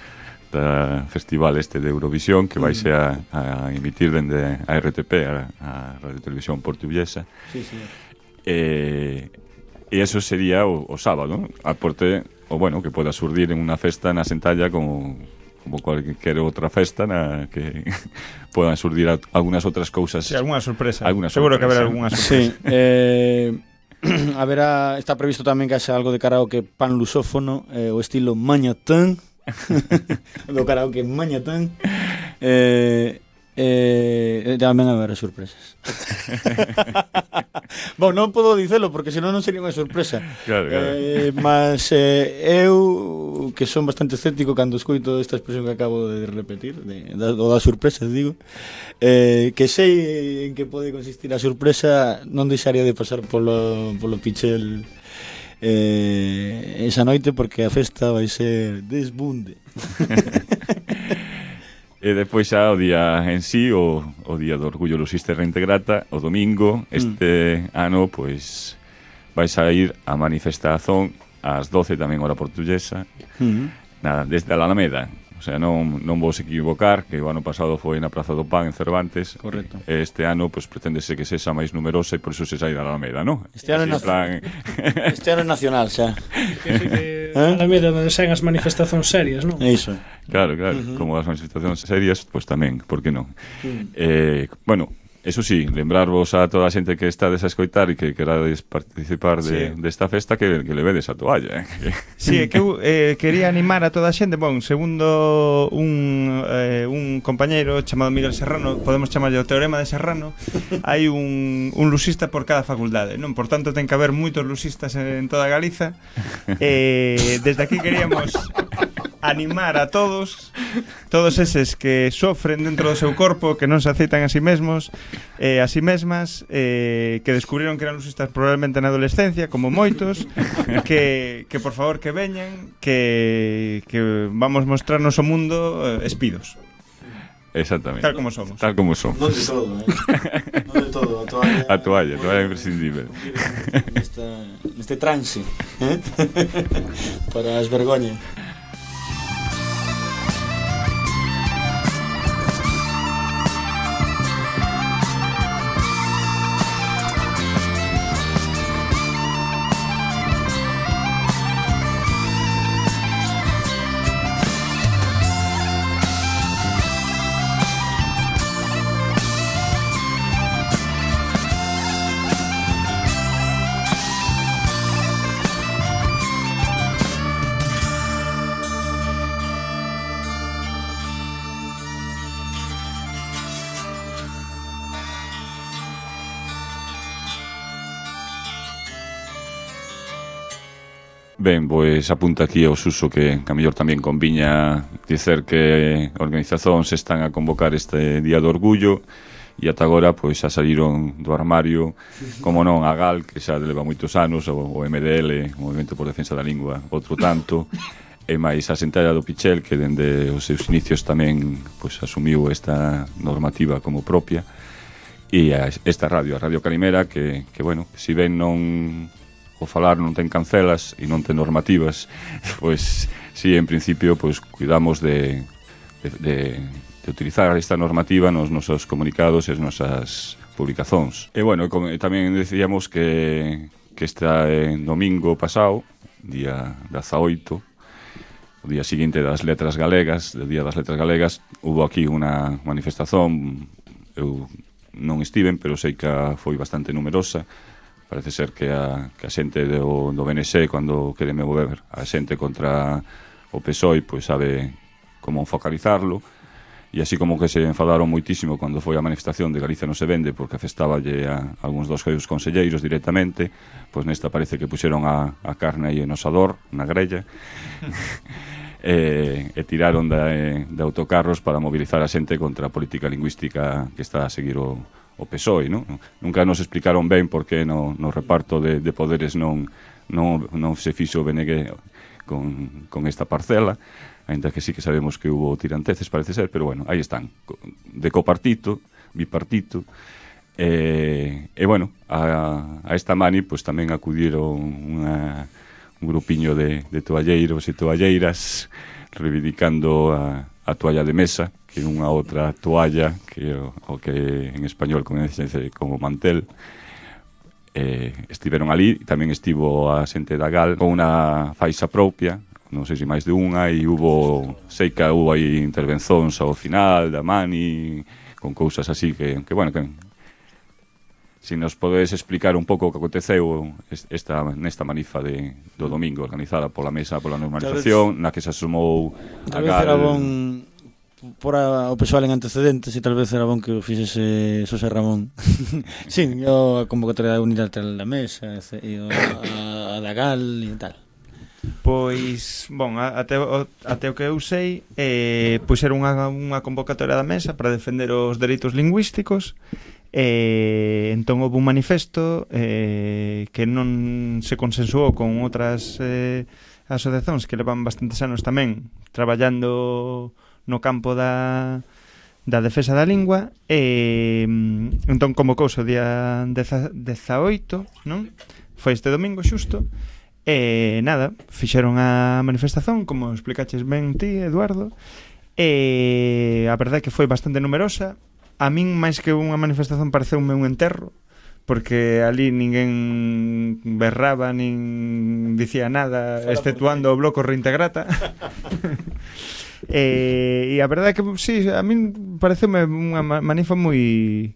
da festival este de Eurovisión que vaise a, a emitir dende a R T P, a, a Radio Televisión Portuguesa. Sí, sí. Eh, e eso sería o, o sábado, aporte, o bueno, que poda surdir en unha festa na Sentalla como como cualquier outra festa na que podan surdir a, algunhas outras cousas. Sí, alguna sorpresa. Alguna Seguro sorpresa. que haberá algunha sorpresa. Sí, eh, haberá, está previsto tamén que haxa algo de karaoke pan lusófono, eh, o estilo mañatán, do karaoke mañatán. Eh, eh, tamén haberá sorpresas. Bom, non podo dicelo porque senón non sería unha sorpresa. Claro, claro. Eh, mas eh, eu que son bastante escéptico cando escoito esta expresión que acabo de repetir de, da, o da sorpresa, digo eh, que sei en que pode consistir a sorpresa, non deixaría de pasar polo, polo Pichel eh, esa noite porque a festa vai ser desbunde. E depois xa o día en sí, o, o día do Orgullo Lusista e Reintegrata, o domingo, este mm. ano, pois, vai sair a manifestación ás doce tamén hora portuguesa, mm. nada, desde a Alameda. O sea, non, non vos equivocar, que o ano pasado foi na Praza do Pan en Cervantes. Correcto. Este ano, pois, preténdese que sexa máis numerosa e por iso se sai da Alameda, non? Este ano, nac... plan... este ano é nacional, xa. Que a Alameda onde saen as manifestacións serias, non? É iso. Claro, claro, uh-huh. Como as manifestacións serias, pois tamén, por que non? Uh-huh. Eh, bueno, eso sí, lembrarvos a toda a xente que estades a escoitar e que querades participar de, sí. desta festa que, que levedes a toalla, eh? Sí, é que eu eh, quería animar a toda a xente. Bon, segundo un, eh, un compañeiro chamado Miguel Serrano, podemos chamarlle o teorema de Serrano, hai un, un lusista por cada facultade, non? Por tanto, ten que haber moitos lusistas en toda Galiza. Eh, desde aquí queríamos animar a todos, todos eses que sofren dentro do seu corpo, que non se aceitan a sí mesmos, eh, a sí mesmas, eh, que descubriron que eran lusistas probablemente na adolescencia, como moitos, que, que por favor que veñan, que, que vamos mostrarnos o mundo eh, espidos. Exactamente. Tal como somos. Tal como somos. Non de todo, eh? Non de todo, a toalla. A toalla, a toalla é imprescindible. Nesta, neste trance, eh? Para as vergoñas. Ben, pois apunta aquí ao Suso que a mellor tamén conviña dicer que organizacións están a convocar este Día do Orgullo e ata agora pois xa saliron do armario, como non, a GAL, que xa leva moitos anos, o, o M D L, o Movimento por Defensa da Lingua, outro tanto, e máis a Sentalla do Pichel, que dende os seus inicios tamén pois asumiu esta normativa como propia, e a, esta radio, a Radio Calimera, que, que bueno, si ben non o falar non ten cancelas e non ten normativas, pois si en principio pois cuidamos de, de, de, de utilizar esta normativa nos nosos comunicados e as nosas publicacións. E bueno, como, tamén decíamos que, que este eh, domingo pasado, día dezaoito, o día seguinte das letras galegas, do día das letras galegas, hubo aquí unha manifestación, eu non estiven, pero sei que foi bastante numerosa. Parece ser que a, que a xente do, do B N S, cando quere mover a xente contra o P S O E, pois sabe como focalizarlo, e así como que se enfadaron moitísimo cando foi a manifestación de Galicia non se vende porque afestáballe a algúns dos seus conselleiros directamente, pois nesta parece que puxeron a, a carne aí en osador, na grella, e, e tiraron de, de autocarros para mobilizar a xente contra a política lingüística que está a seguir o, o P S O E, non? Nunca nos explicaron ben por que no, no reparto de, de poderes non, non, non se fixo o B N G con, con esta parcela, ainda que sí que sabemos que hubo tiranteces, parece ser, pero bueno, aí están, de copartito, bipartito, e, e bueno, a, a esta mani pues, tamén acudiron unha, un grupiño de, de toalleiros e toalleiras reivindicando a, a toalla de mesa, que é unha outra toalla, que o, o que en español coñece como mantel. Eh, estiveron ali, tamén estivo a xente da Gal con unha faixa propia, non sei se máis de unha, e hubo, sei que hubo aí intervencións ao final da Mani, con cousas así que, que bueno, que se si nos podes explicar un pouco o que aconteceu esta, nesta manifa de, do domingo organizada pola Mesa pola Normalización, na que se asumou a Gal. Tal vez era bon por a, o persoal en antecedentes e tal vez era bon que o fixese Xosé Ramón. Sí, a convocatoria unilateral da Mesa e a, a da Gal e tal. Pois, bon, até, até o que eu sei eh, pois era unha, unha convocatoria da Mesa para defender os dereitos lingüísticos e entón houve un manifesto eh, que non se consensuou con outras eh, asociacións que levan bastantes anos tamén traballando no campo da, da defensa da lingua e entón convocouse o día dezaoito, non? Foi este domingo xusto. E nada, fixeron a manifestación, como explicaches ben ti, Eduardo, e a verdade é que foi bastante numerosa. A min, máis que unha manifestación, pareceume un enterro, porque ali ninguén berraba, nin dicía nada, exceptuando o bloco Reintegrata. e, e a verdade é que, sí, a min pareceume unha manifa moi...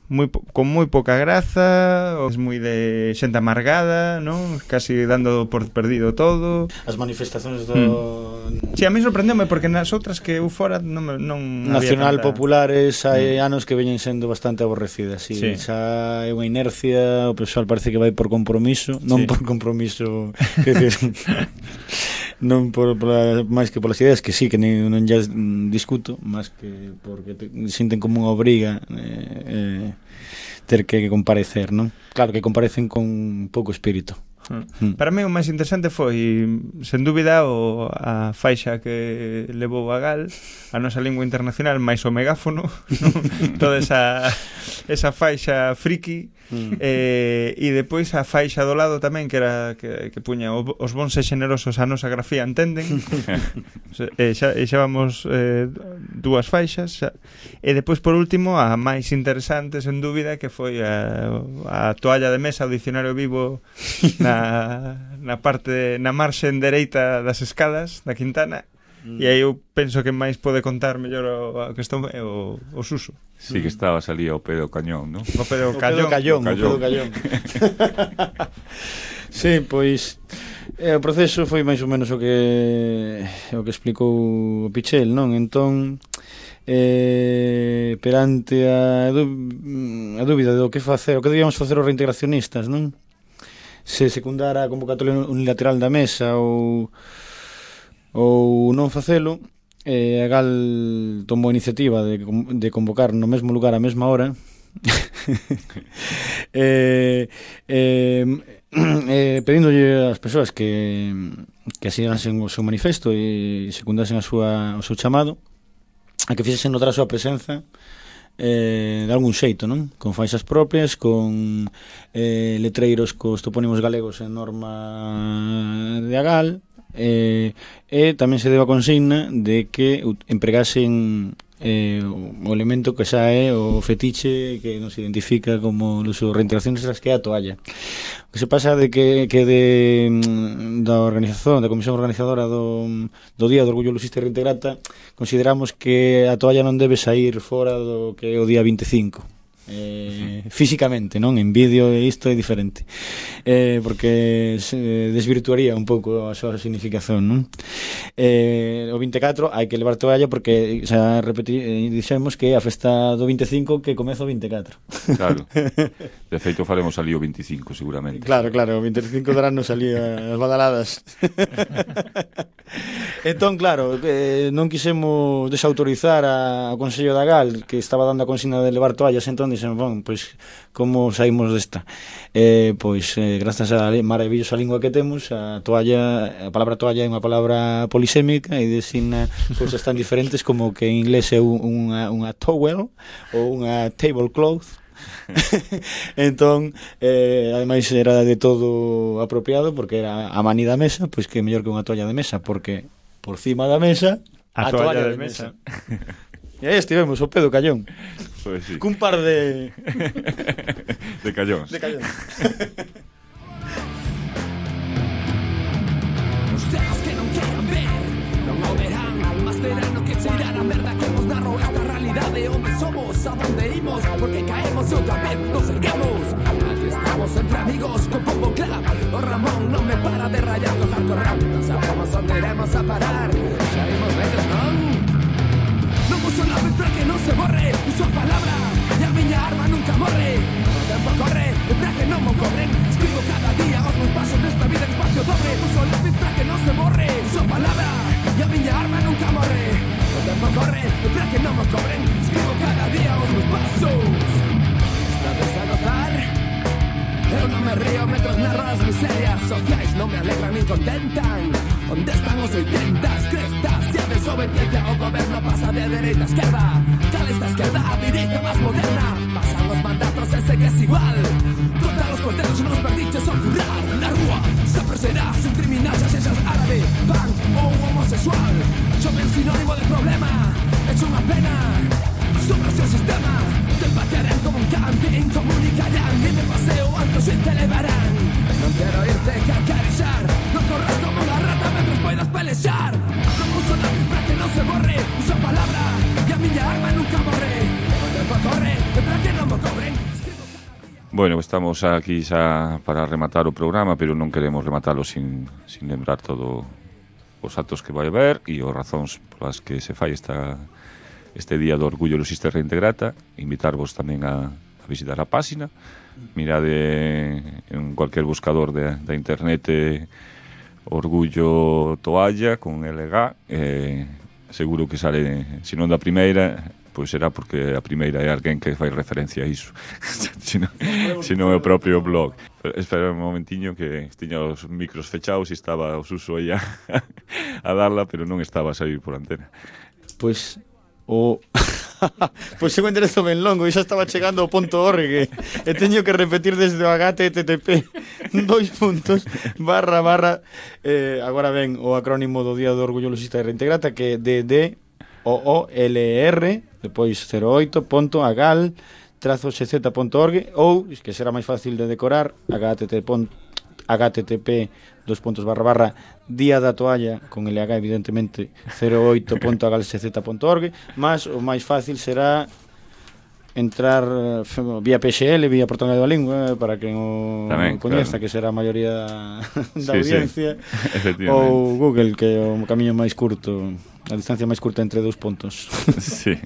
Muy, con moi pouca graza, es moi de xente amargada, non? Casi dando por perdido todo. As manifestacións do... Mm. Sí, a mí sorprendeume porque nas outras que eu fora non, non Nacional había tanta... populares hai mm. anos que veñen sendo bastante aborrecidas, sí. Sí. Xa é unha inercia, o persoal parece que vai por compromiso, non sí. por compromiso, que decir, non por, por máis que polas ideas que sí, que non, non ya discuto, máis que porque te, sinten como unha obriga eh, eh, ter que comparecer, non? Claro que comparecen con pouco espírito. Mm. Para mí o máis interesante foi, sen dúbida, o, a faixa que levou a Gal, a nosa lingua internacional, máis o megáfono, ¿no? Toda esa, esa faixa friki, mm. eh, e depois a faixa do lado tamén, que era que, que puña os bons e xenerosos a nosa grafía entenden. e, xa, e xa vamos eh, dúas faixas xa. E depois, por último, a máis interesante, sen dúbida, que foi a, a toalla de mesa, o dicionario vivo na na parte na marxen dereita das escadas da Quintana, mm. e aí eu penso que máis pode contar mellor o, a cuestión é o, o Suso. Sí, que estabas ali ao pé do cañón, non? O pé do cañón, o callón, o pé do callón. Sí, pois eh, o proceso foi máis ou menos o que o que explicou o Pichel, non? Entón eh, perante a, a dúbida do que facer, o que debíamos facer os reintegracionistas, non? Se secundara a convocatoria unilateral da Mesa ou ou non facelo, eh, a Gal tomou a iniciativa de, de convocar no mesmo lugar a mesma hora eh, eh, eh, pedíndolle ás persoas que que asinasen o seu manifesto e secundasen a súa, o seu chamado a que fixesen notar a súa presenza Eh, de algún xeito, non? Con faixas propias, con eh, letreiros cos topónimos galegos en norma de Agal, eh, e tamén se deu a consigna de que empregasen eh, o elemento que xa é o fetiche que nos identifica como nos reintegraciones, que é a toalla. O que se pasa de que, que de, da organización, da comisión organizadora do, do Día do Orgullo Lusista e Reintegrata, consideramos que a toalla non debe sair fora do que é o día vinte e cinco. eh, físicamente, non? En vídeo isto é diferente, eh, porque se desvirtuaría un pouco a súa significación, non? Eh, o vinte e catro hai que levar toalla porque xa repetir, eh, dixemos que a festa do vinte e cinco que comeza o vinte e catro. Claro. De feito faremos ali o vinte e cinco seguramente. Claro, claro, o vinte e cinco darán nos ali as badaladas. Entón, claro, eh, non quisemos desautorizar a, ao Consello da Gal, que estaba dando a consigna de levar toallas, entón dixen, bon, pois, como saímos desta? Eh, pois, eh, grazas á maravillosa lingua que temos, a toalla, a palabra toalla é unha palabra polisémica e designa cousas tan diferentes como que en inglés é unha, unha towel ou unha tablecloth. Entón, eh, ademais era de todo apropiado porque era a mani da mesa, pois que é mellor que unha toalla de mesa, porque por cima da mesa a, a toalla, toalla de, de mesa, mesa. E aí estivemos, o pé do Callón. Pois sí. Cun par de... de callóns. De callóns. Ustedes que non queran ver, non o verán, mas verán o que se irán a merda que nos narro esta realidade onde somos, a donde imos, porque caemos outra vez, nos erguemos. Aquí estamos entre amigos con Pombo Club, o Ramón non me para de rayar con hardcore rap, non sabemos onde iremos a parar, xa vimos vellos, non? Non uso la vez para que non se borre, uso a palabra, e a miña arma nunca morre. O tempo corre, e para que non mo cobren, escribo cada día os meus pasos nesta vida en espacio doble. Uso la vez para que non se borre, uso a palabra, e a miña arma nunca morre. O tempo corre, e para que non mo cobren, escribo cada día os meus pasos. Estades a gozar? Eu non me río mentras narro as miserias sociais, non me alegran nin contentan. Onde están os oitentas, crestas e a desobediencia ao goberno pasa de dereita a esquerda. Cal esta esquerda a direita máis moderna, pasan os mandatos e segues igual. Contra os corteros nos perdiches ao currar na rúa, sempre serás un criminal xa sexas árabe, punk ou homosexual. Chove un sinónimo de problema, é unha pena sobre o seu sistema. Te patearán como un can, te incomunicarán e de paseo alto se te levarán. Non quero irte que acariciar, non corras como unha rata mentras poidas pelexar. Non uso la para que non se borre, uso a palabra e a miña arma nunca morre. O tempo corre, e para que non mo cobren. Bueno, estamos aquí xa para rematar o programa, pero non queremos rematalo sin, sin lembrar todo os actos que vai haber e os razóns polas que se fai esta... este día do Orgullo Lusista Reintegrata. Invitarvos tamén a, a visitar a páxina, mirade en cualquier buscador de, da internet eh, Orgullo Toalla con L G, eh, seguro que sale, se non da primeira, pois será porque a primeira é alguén que fai referencia a iso, se non, se non é o propio blog. Espera un momentiño que tiña os micros fechados e estaba o Suso aí a, a darla, pero non estaba a sair por antena. Pois o pois é un enderezo ben longo e xa estaba chegando ao ponto org e teño que repetir desde o H T T P dois puntos barra barra eh, agora ven o acrónimo do Día do Orgullo Lusista de Reintegrata, que é D D O O L R depois cero oito punto agal trazo x z punto org ou, que será máis fácil de decorar, http dos puntos barra barra Día da Toalla con L H evidentemente cero oito punto agal x z punto org, mas o máis fácil será entrar vía P X L, vía Portal da Lingua, para que o coñeza, claro, que será a maioría da sí, audiencia, sí. Ou Google, que é o camiño máis curto, a distancia máis curta entre dous puntos. Sí.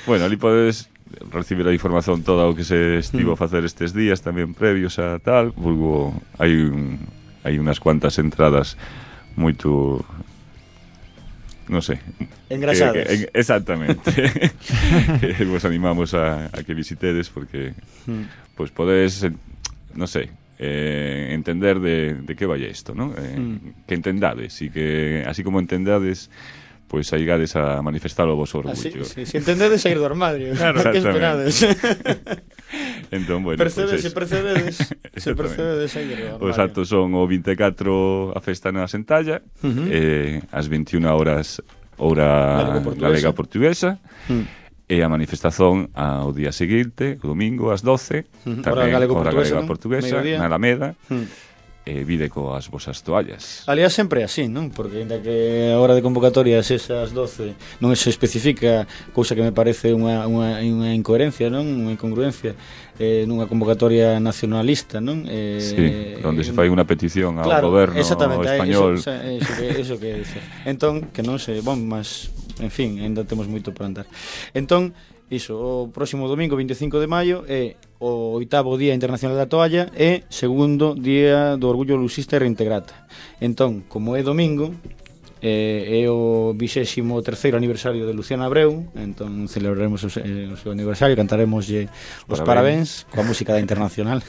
Bueno, ali podes recibir a información toda o que se estivo a facer estes días tamén previos a tal, vulgo hai un, hai unhas cuantas entradas moito, non sei, engrasadas, que, que, exactamente. Que vos animamos a, a que visitedes porque mm. pois podes, non sei, eh, entender de, de que vai isto, non? Eh, mm. Que entendades e que así como entendades, pois saigades a manifestar o vosso orgullo. Así, sí, si entendedes sair do armario, claro, que esperades. Entón, bueno, percebedes, pues se percebedes, se percebedes sair do armario. Os actos son o vinte e catro a festa na Sentalla, uh-huh. eh, as veintiuna horas hora galega portuguesa, uh-huh. e a manifestación ao día seguinte, o domingo, ás doce, uh-huh. tamén hora galega portuguesa, na Alameda, uh-huh. e vide coas vosas toallas. Aliás, sempre é así, non? Porque ainda que a hora de convocatorias esas doce non se especifica, cousa que me parece unha, unha, unha incoherencia, non? Unha incongruencia eh, nunha convocatoria nacionalista, non? Eh, sí, onde se fai unha petición ao claro, goberno Exactamente, español. eso, eso, que, eso que dice. Entón, que non se... Bom, mas, en fin, ainda temos moito por andar. Entón, iso, o próximo domingo, vinte e cinco de maio, é o oitavo Día Internacional da Toalla e segundo Día do Orgullo Lusista e Reintegrata. Entón, como é domingo, eh, é o vixésimo terceiro aniversario de Luciana Abreu, entón celebraremos o, eh, o seu aniversario, cantaremoslle os parabéns, parabéns coa música da Internacional.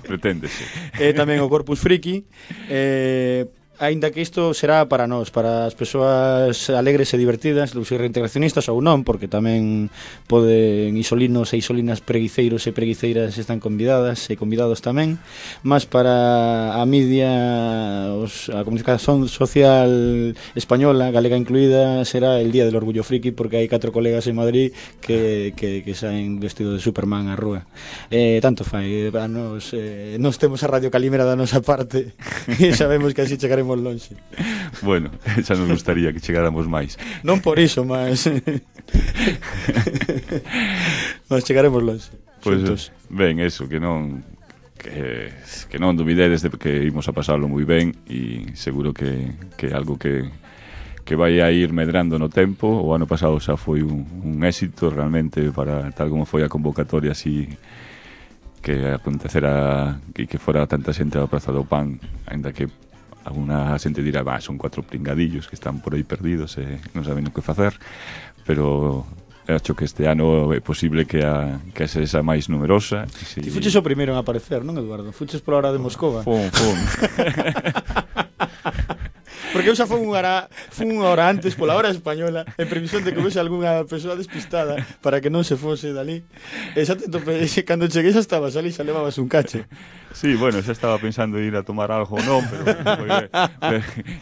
Preténdese. E tamén o Corpus Friki, eh, aínda que isto será para nós, para as persoas alegres e divertidas, os reintegracionistas ou non, porque tamén poden isolinos e isolinas preguiceiros e preguiceiras están convidadas e convidados tamén, mas para a media, os, a comunicación social española, galega incluída, será el Día del Orgullo Friki, porque hai catro colegas en Madrid que, que, que saen vestido de Superman á rúa. Eh, tanto fai, a nos, eh, nos temos a Radio Calimera da nosa parte e sabemos que así chegaremos longe. Bueno, xa nos gustaría que chegáramos máis. Non por iso, mas mas chegaremos longe. Pois, pues, ben, eso, que non que, que non dubidedes de que imos a pasarlo moi ben e seguro que, que algo que que vai a ir medrando no tempo. O ano pasado xa foi un, un éxito realmente para tal como foi a convocatoria, así que acontecera e que fora tanta xente á Praza do Pan, ainda que alguna xente dirá, bah, son cuatro pringadillos que están por aí perdidos e non saben o que facer, pero acho que este ano é posible que a, que a sexa máis numerosa. Si... Ti fuches o primeiro en aparecer, non, Eduardo? Fuches pola hora de Moscova. Fun, fun. Porque eu xa fui unha hora, fui unha hora antes pola hora española en previsión de que houvese algunha persoa despistada para que non se fose dali. E xa te tope, cando cheguei xa estabas ali, xa levabas un cache. Sí, bueno, xa estaba pensando ir a tomar algo, non, pero foi,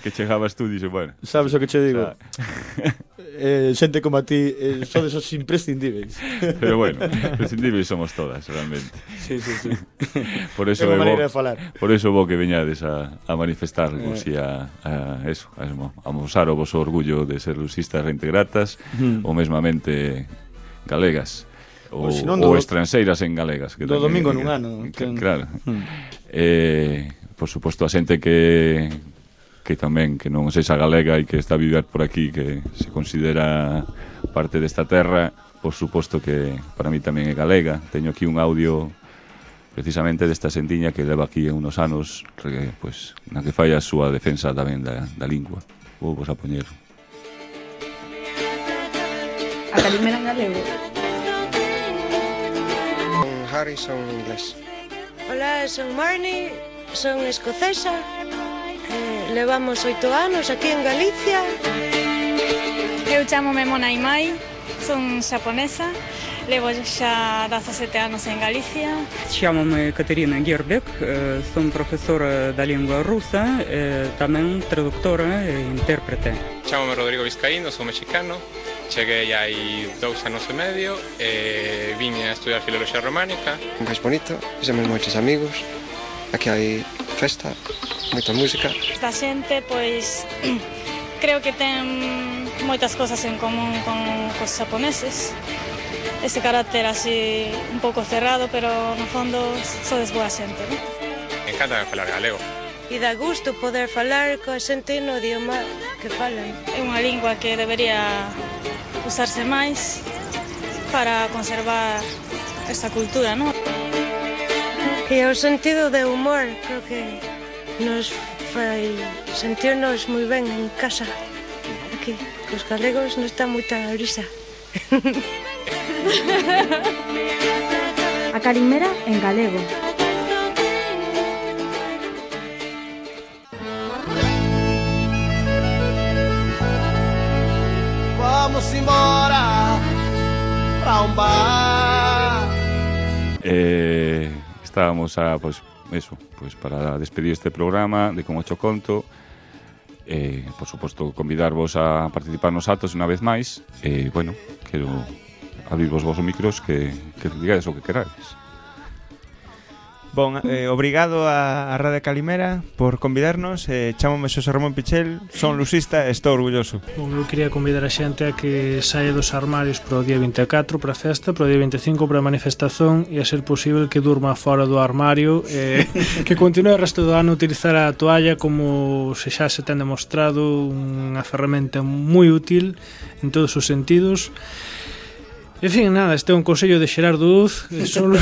que chegabas tú e dixe, bueno. Sabes o que che digo? O sea... eh, xente como a ti eh, sodes os imprescindíveis. Pero bueno, imprescindíveis somos todas, realmente. Sí, sí, sí. Por eso é unha maneira bo, de falar. Por eso vos que veñades a, a manifestarvos e eh. a, a eso, a, a mostrar o vosso orgullo de ser lusistas reintegratas mm. ou mesmamente galegas. Ou, ou do, estranxeiras en galegas que do tamén, domingo nun ano que, claro hmm. eh, por suposto a xente que que tamén que non sexa galega e que está a viver por aquí, que se considera parte desta terra, por suposto que para mí tamén é galega. Teño aquí un audio precisamente desta xentiña que leva aquí unos anos que, pues, na que fai a súa defensa tamén da, da lingua. Vou vos a poñer a Calimera en galego. Harry, son inglés. Hola, son Marnie, son escocesa. Eh, levamos oito anos aquí en Galicia. Eu chamome Mona Imai, son xaponesa. Levo xa dezasete anos en Galicia. Chamome Caterina Gerbek, son profesora da lingua rusa, tamén traductora e intérprete. Chamome Rodrigo Vizcaíno, son mexicano. Cheguei hai dous anos e medio e vine a estudiar filoloxía románica. Un país bonito, fixemos moitos amigos. Aquí hai festa, moita música. Esta xente, pois, creo que ten moitas cosas en común con os xaponeses. Ese carácter así un pouco cerrado, pero no fondo sodes boa xente, non? Me encanta falar galego. E dá gusto poder falar coa xente no idioma que falan. É unha lingua que debería usarse máis para conservar esta cultura, non? E o sentido de humor, creo que nos fai sentirnos moi ben en casa. Aquí, cos galegos non está moita brisa. A Calimera en galego. Vamos embora para un bar. Eh, estábamos a, pues, eso, pues para despedir este programa de Como Cho Conto. Eh, por suposto, convidarvos a participar nos actos unha vez máis. E, eh, bueno, quero abrir vos vos micros que, que digades o que queráis. Bon, eh, obrigado a, a Radio Calimera por convidarnos. eh, Chámome Xosé Ramón Pichel, son lusista e estou orgulloso. Bom, eu quería convidar a xente a que saia dos armarios para o día vinte e catro para a festa, para o día vinte e cinco para a manifestación e a ser posible que durma fora do armario e que continue o resto do ano a utilizar a toalla como se xa se ten demostrado unha ferramenta moi útil en todos os sentidos. En fin, nada, este é un consello de Xerardo Uz. Son...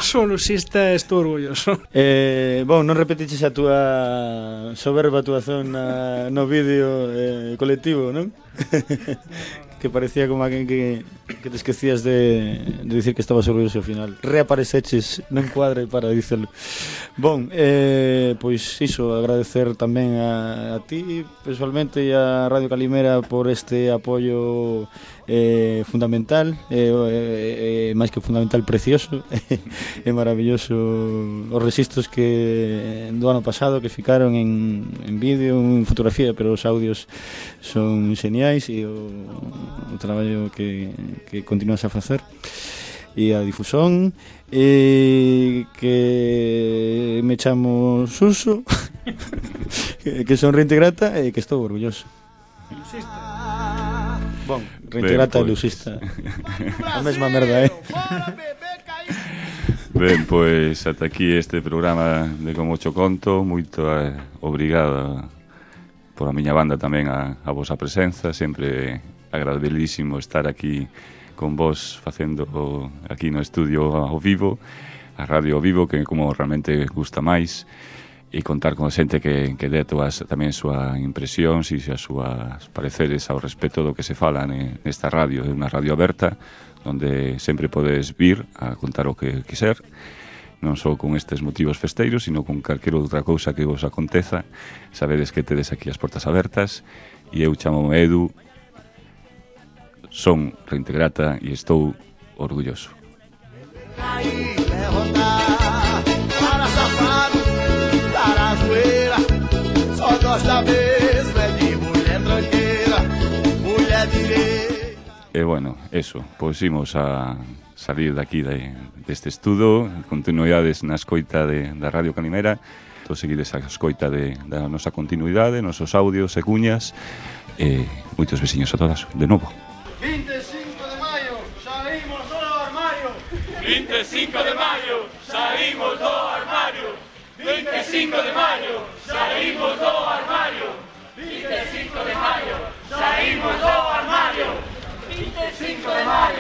Son lusista e estou orgulloso. Eh, bon, non repetiches a túa soberba actuación na, no vídeo eh, colectivo, non? Que parecía como alguén que, que te esquecías de, de dicir que estabas orgulloso ao final. Reapareceches no encuadre para dicelo. Bon, eh, pois iso, agradecer tamén a, a ti personalmente e a Radio Calimera por este apoio eh, fundamental, eh, eh, eh, máis que fundamental, precioso e maravilloso os registros que do ano pasado que ficaron en, en vídeo, en fotografía, pero os audios son xeniais e o, o traballo que, que continúas a facer e a difusión e que me chamo Suso que son reintegrata e que estou orgulloso. Bon, reintegrata e lusista a mesma merda, eh? Ben, pois ata aquí este programa de Como Cho Conto. Moito eh, obrigado por a miña banda tamén a, a vosa presenza. Sempre agradabilísimo estar aquí con vos facendo aquí no estudio ao vivo, a radio ao vivo, que como realmente gusta máis, e contar con xente que, que dé todas tamén súa impresións e as súas pareceres ao respecto do que se fala nesta radio. É unha radio aberta onde sempre podes vir a contar o que quiser, non só con estes motivos festeiros, sino con calquera outra cousa que vos aconteza. Sabedes que tedes aquí as portas abertas, e eu chamo Edu, son reintegrata e estou orgulloso. E bueno, eso, pois imos a salir daqui de, deste estudo, continuidades na escoita de, da Radio Calimera. Todos seguides a escoita de, da nosa continuidade, nosos audios e cuñas, e moitos veciños a todas, de novo. vinte e cinco de maio, saímos do armario. vinte e cinco de maio, saímos do armario. vinte e cinco de maio, saímos do armario. vinte e cinco de maio, saímos do armario. vinte e cinco de maio.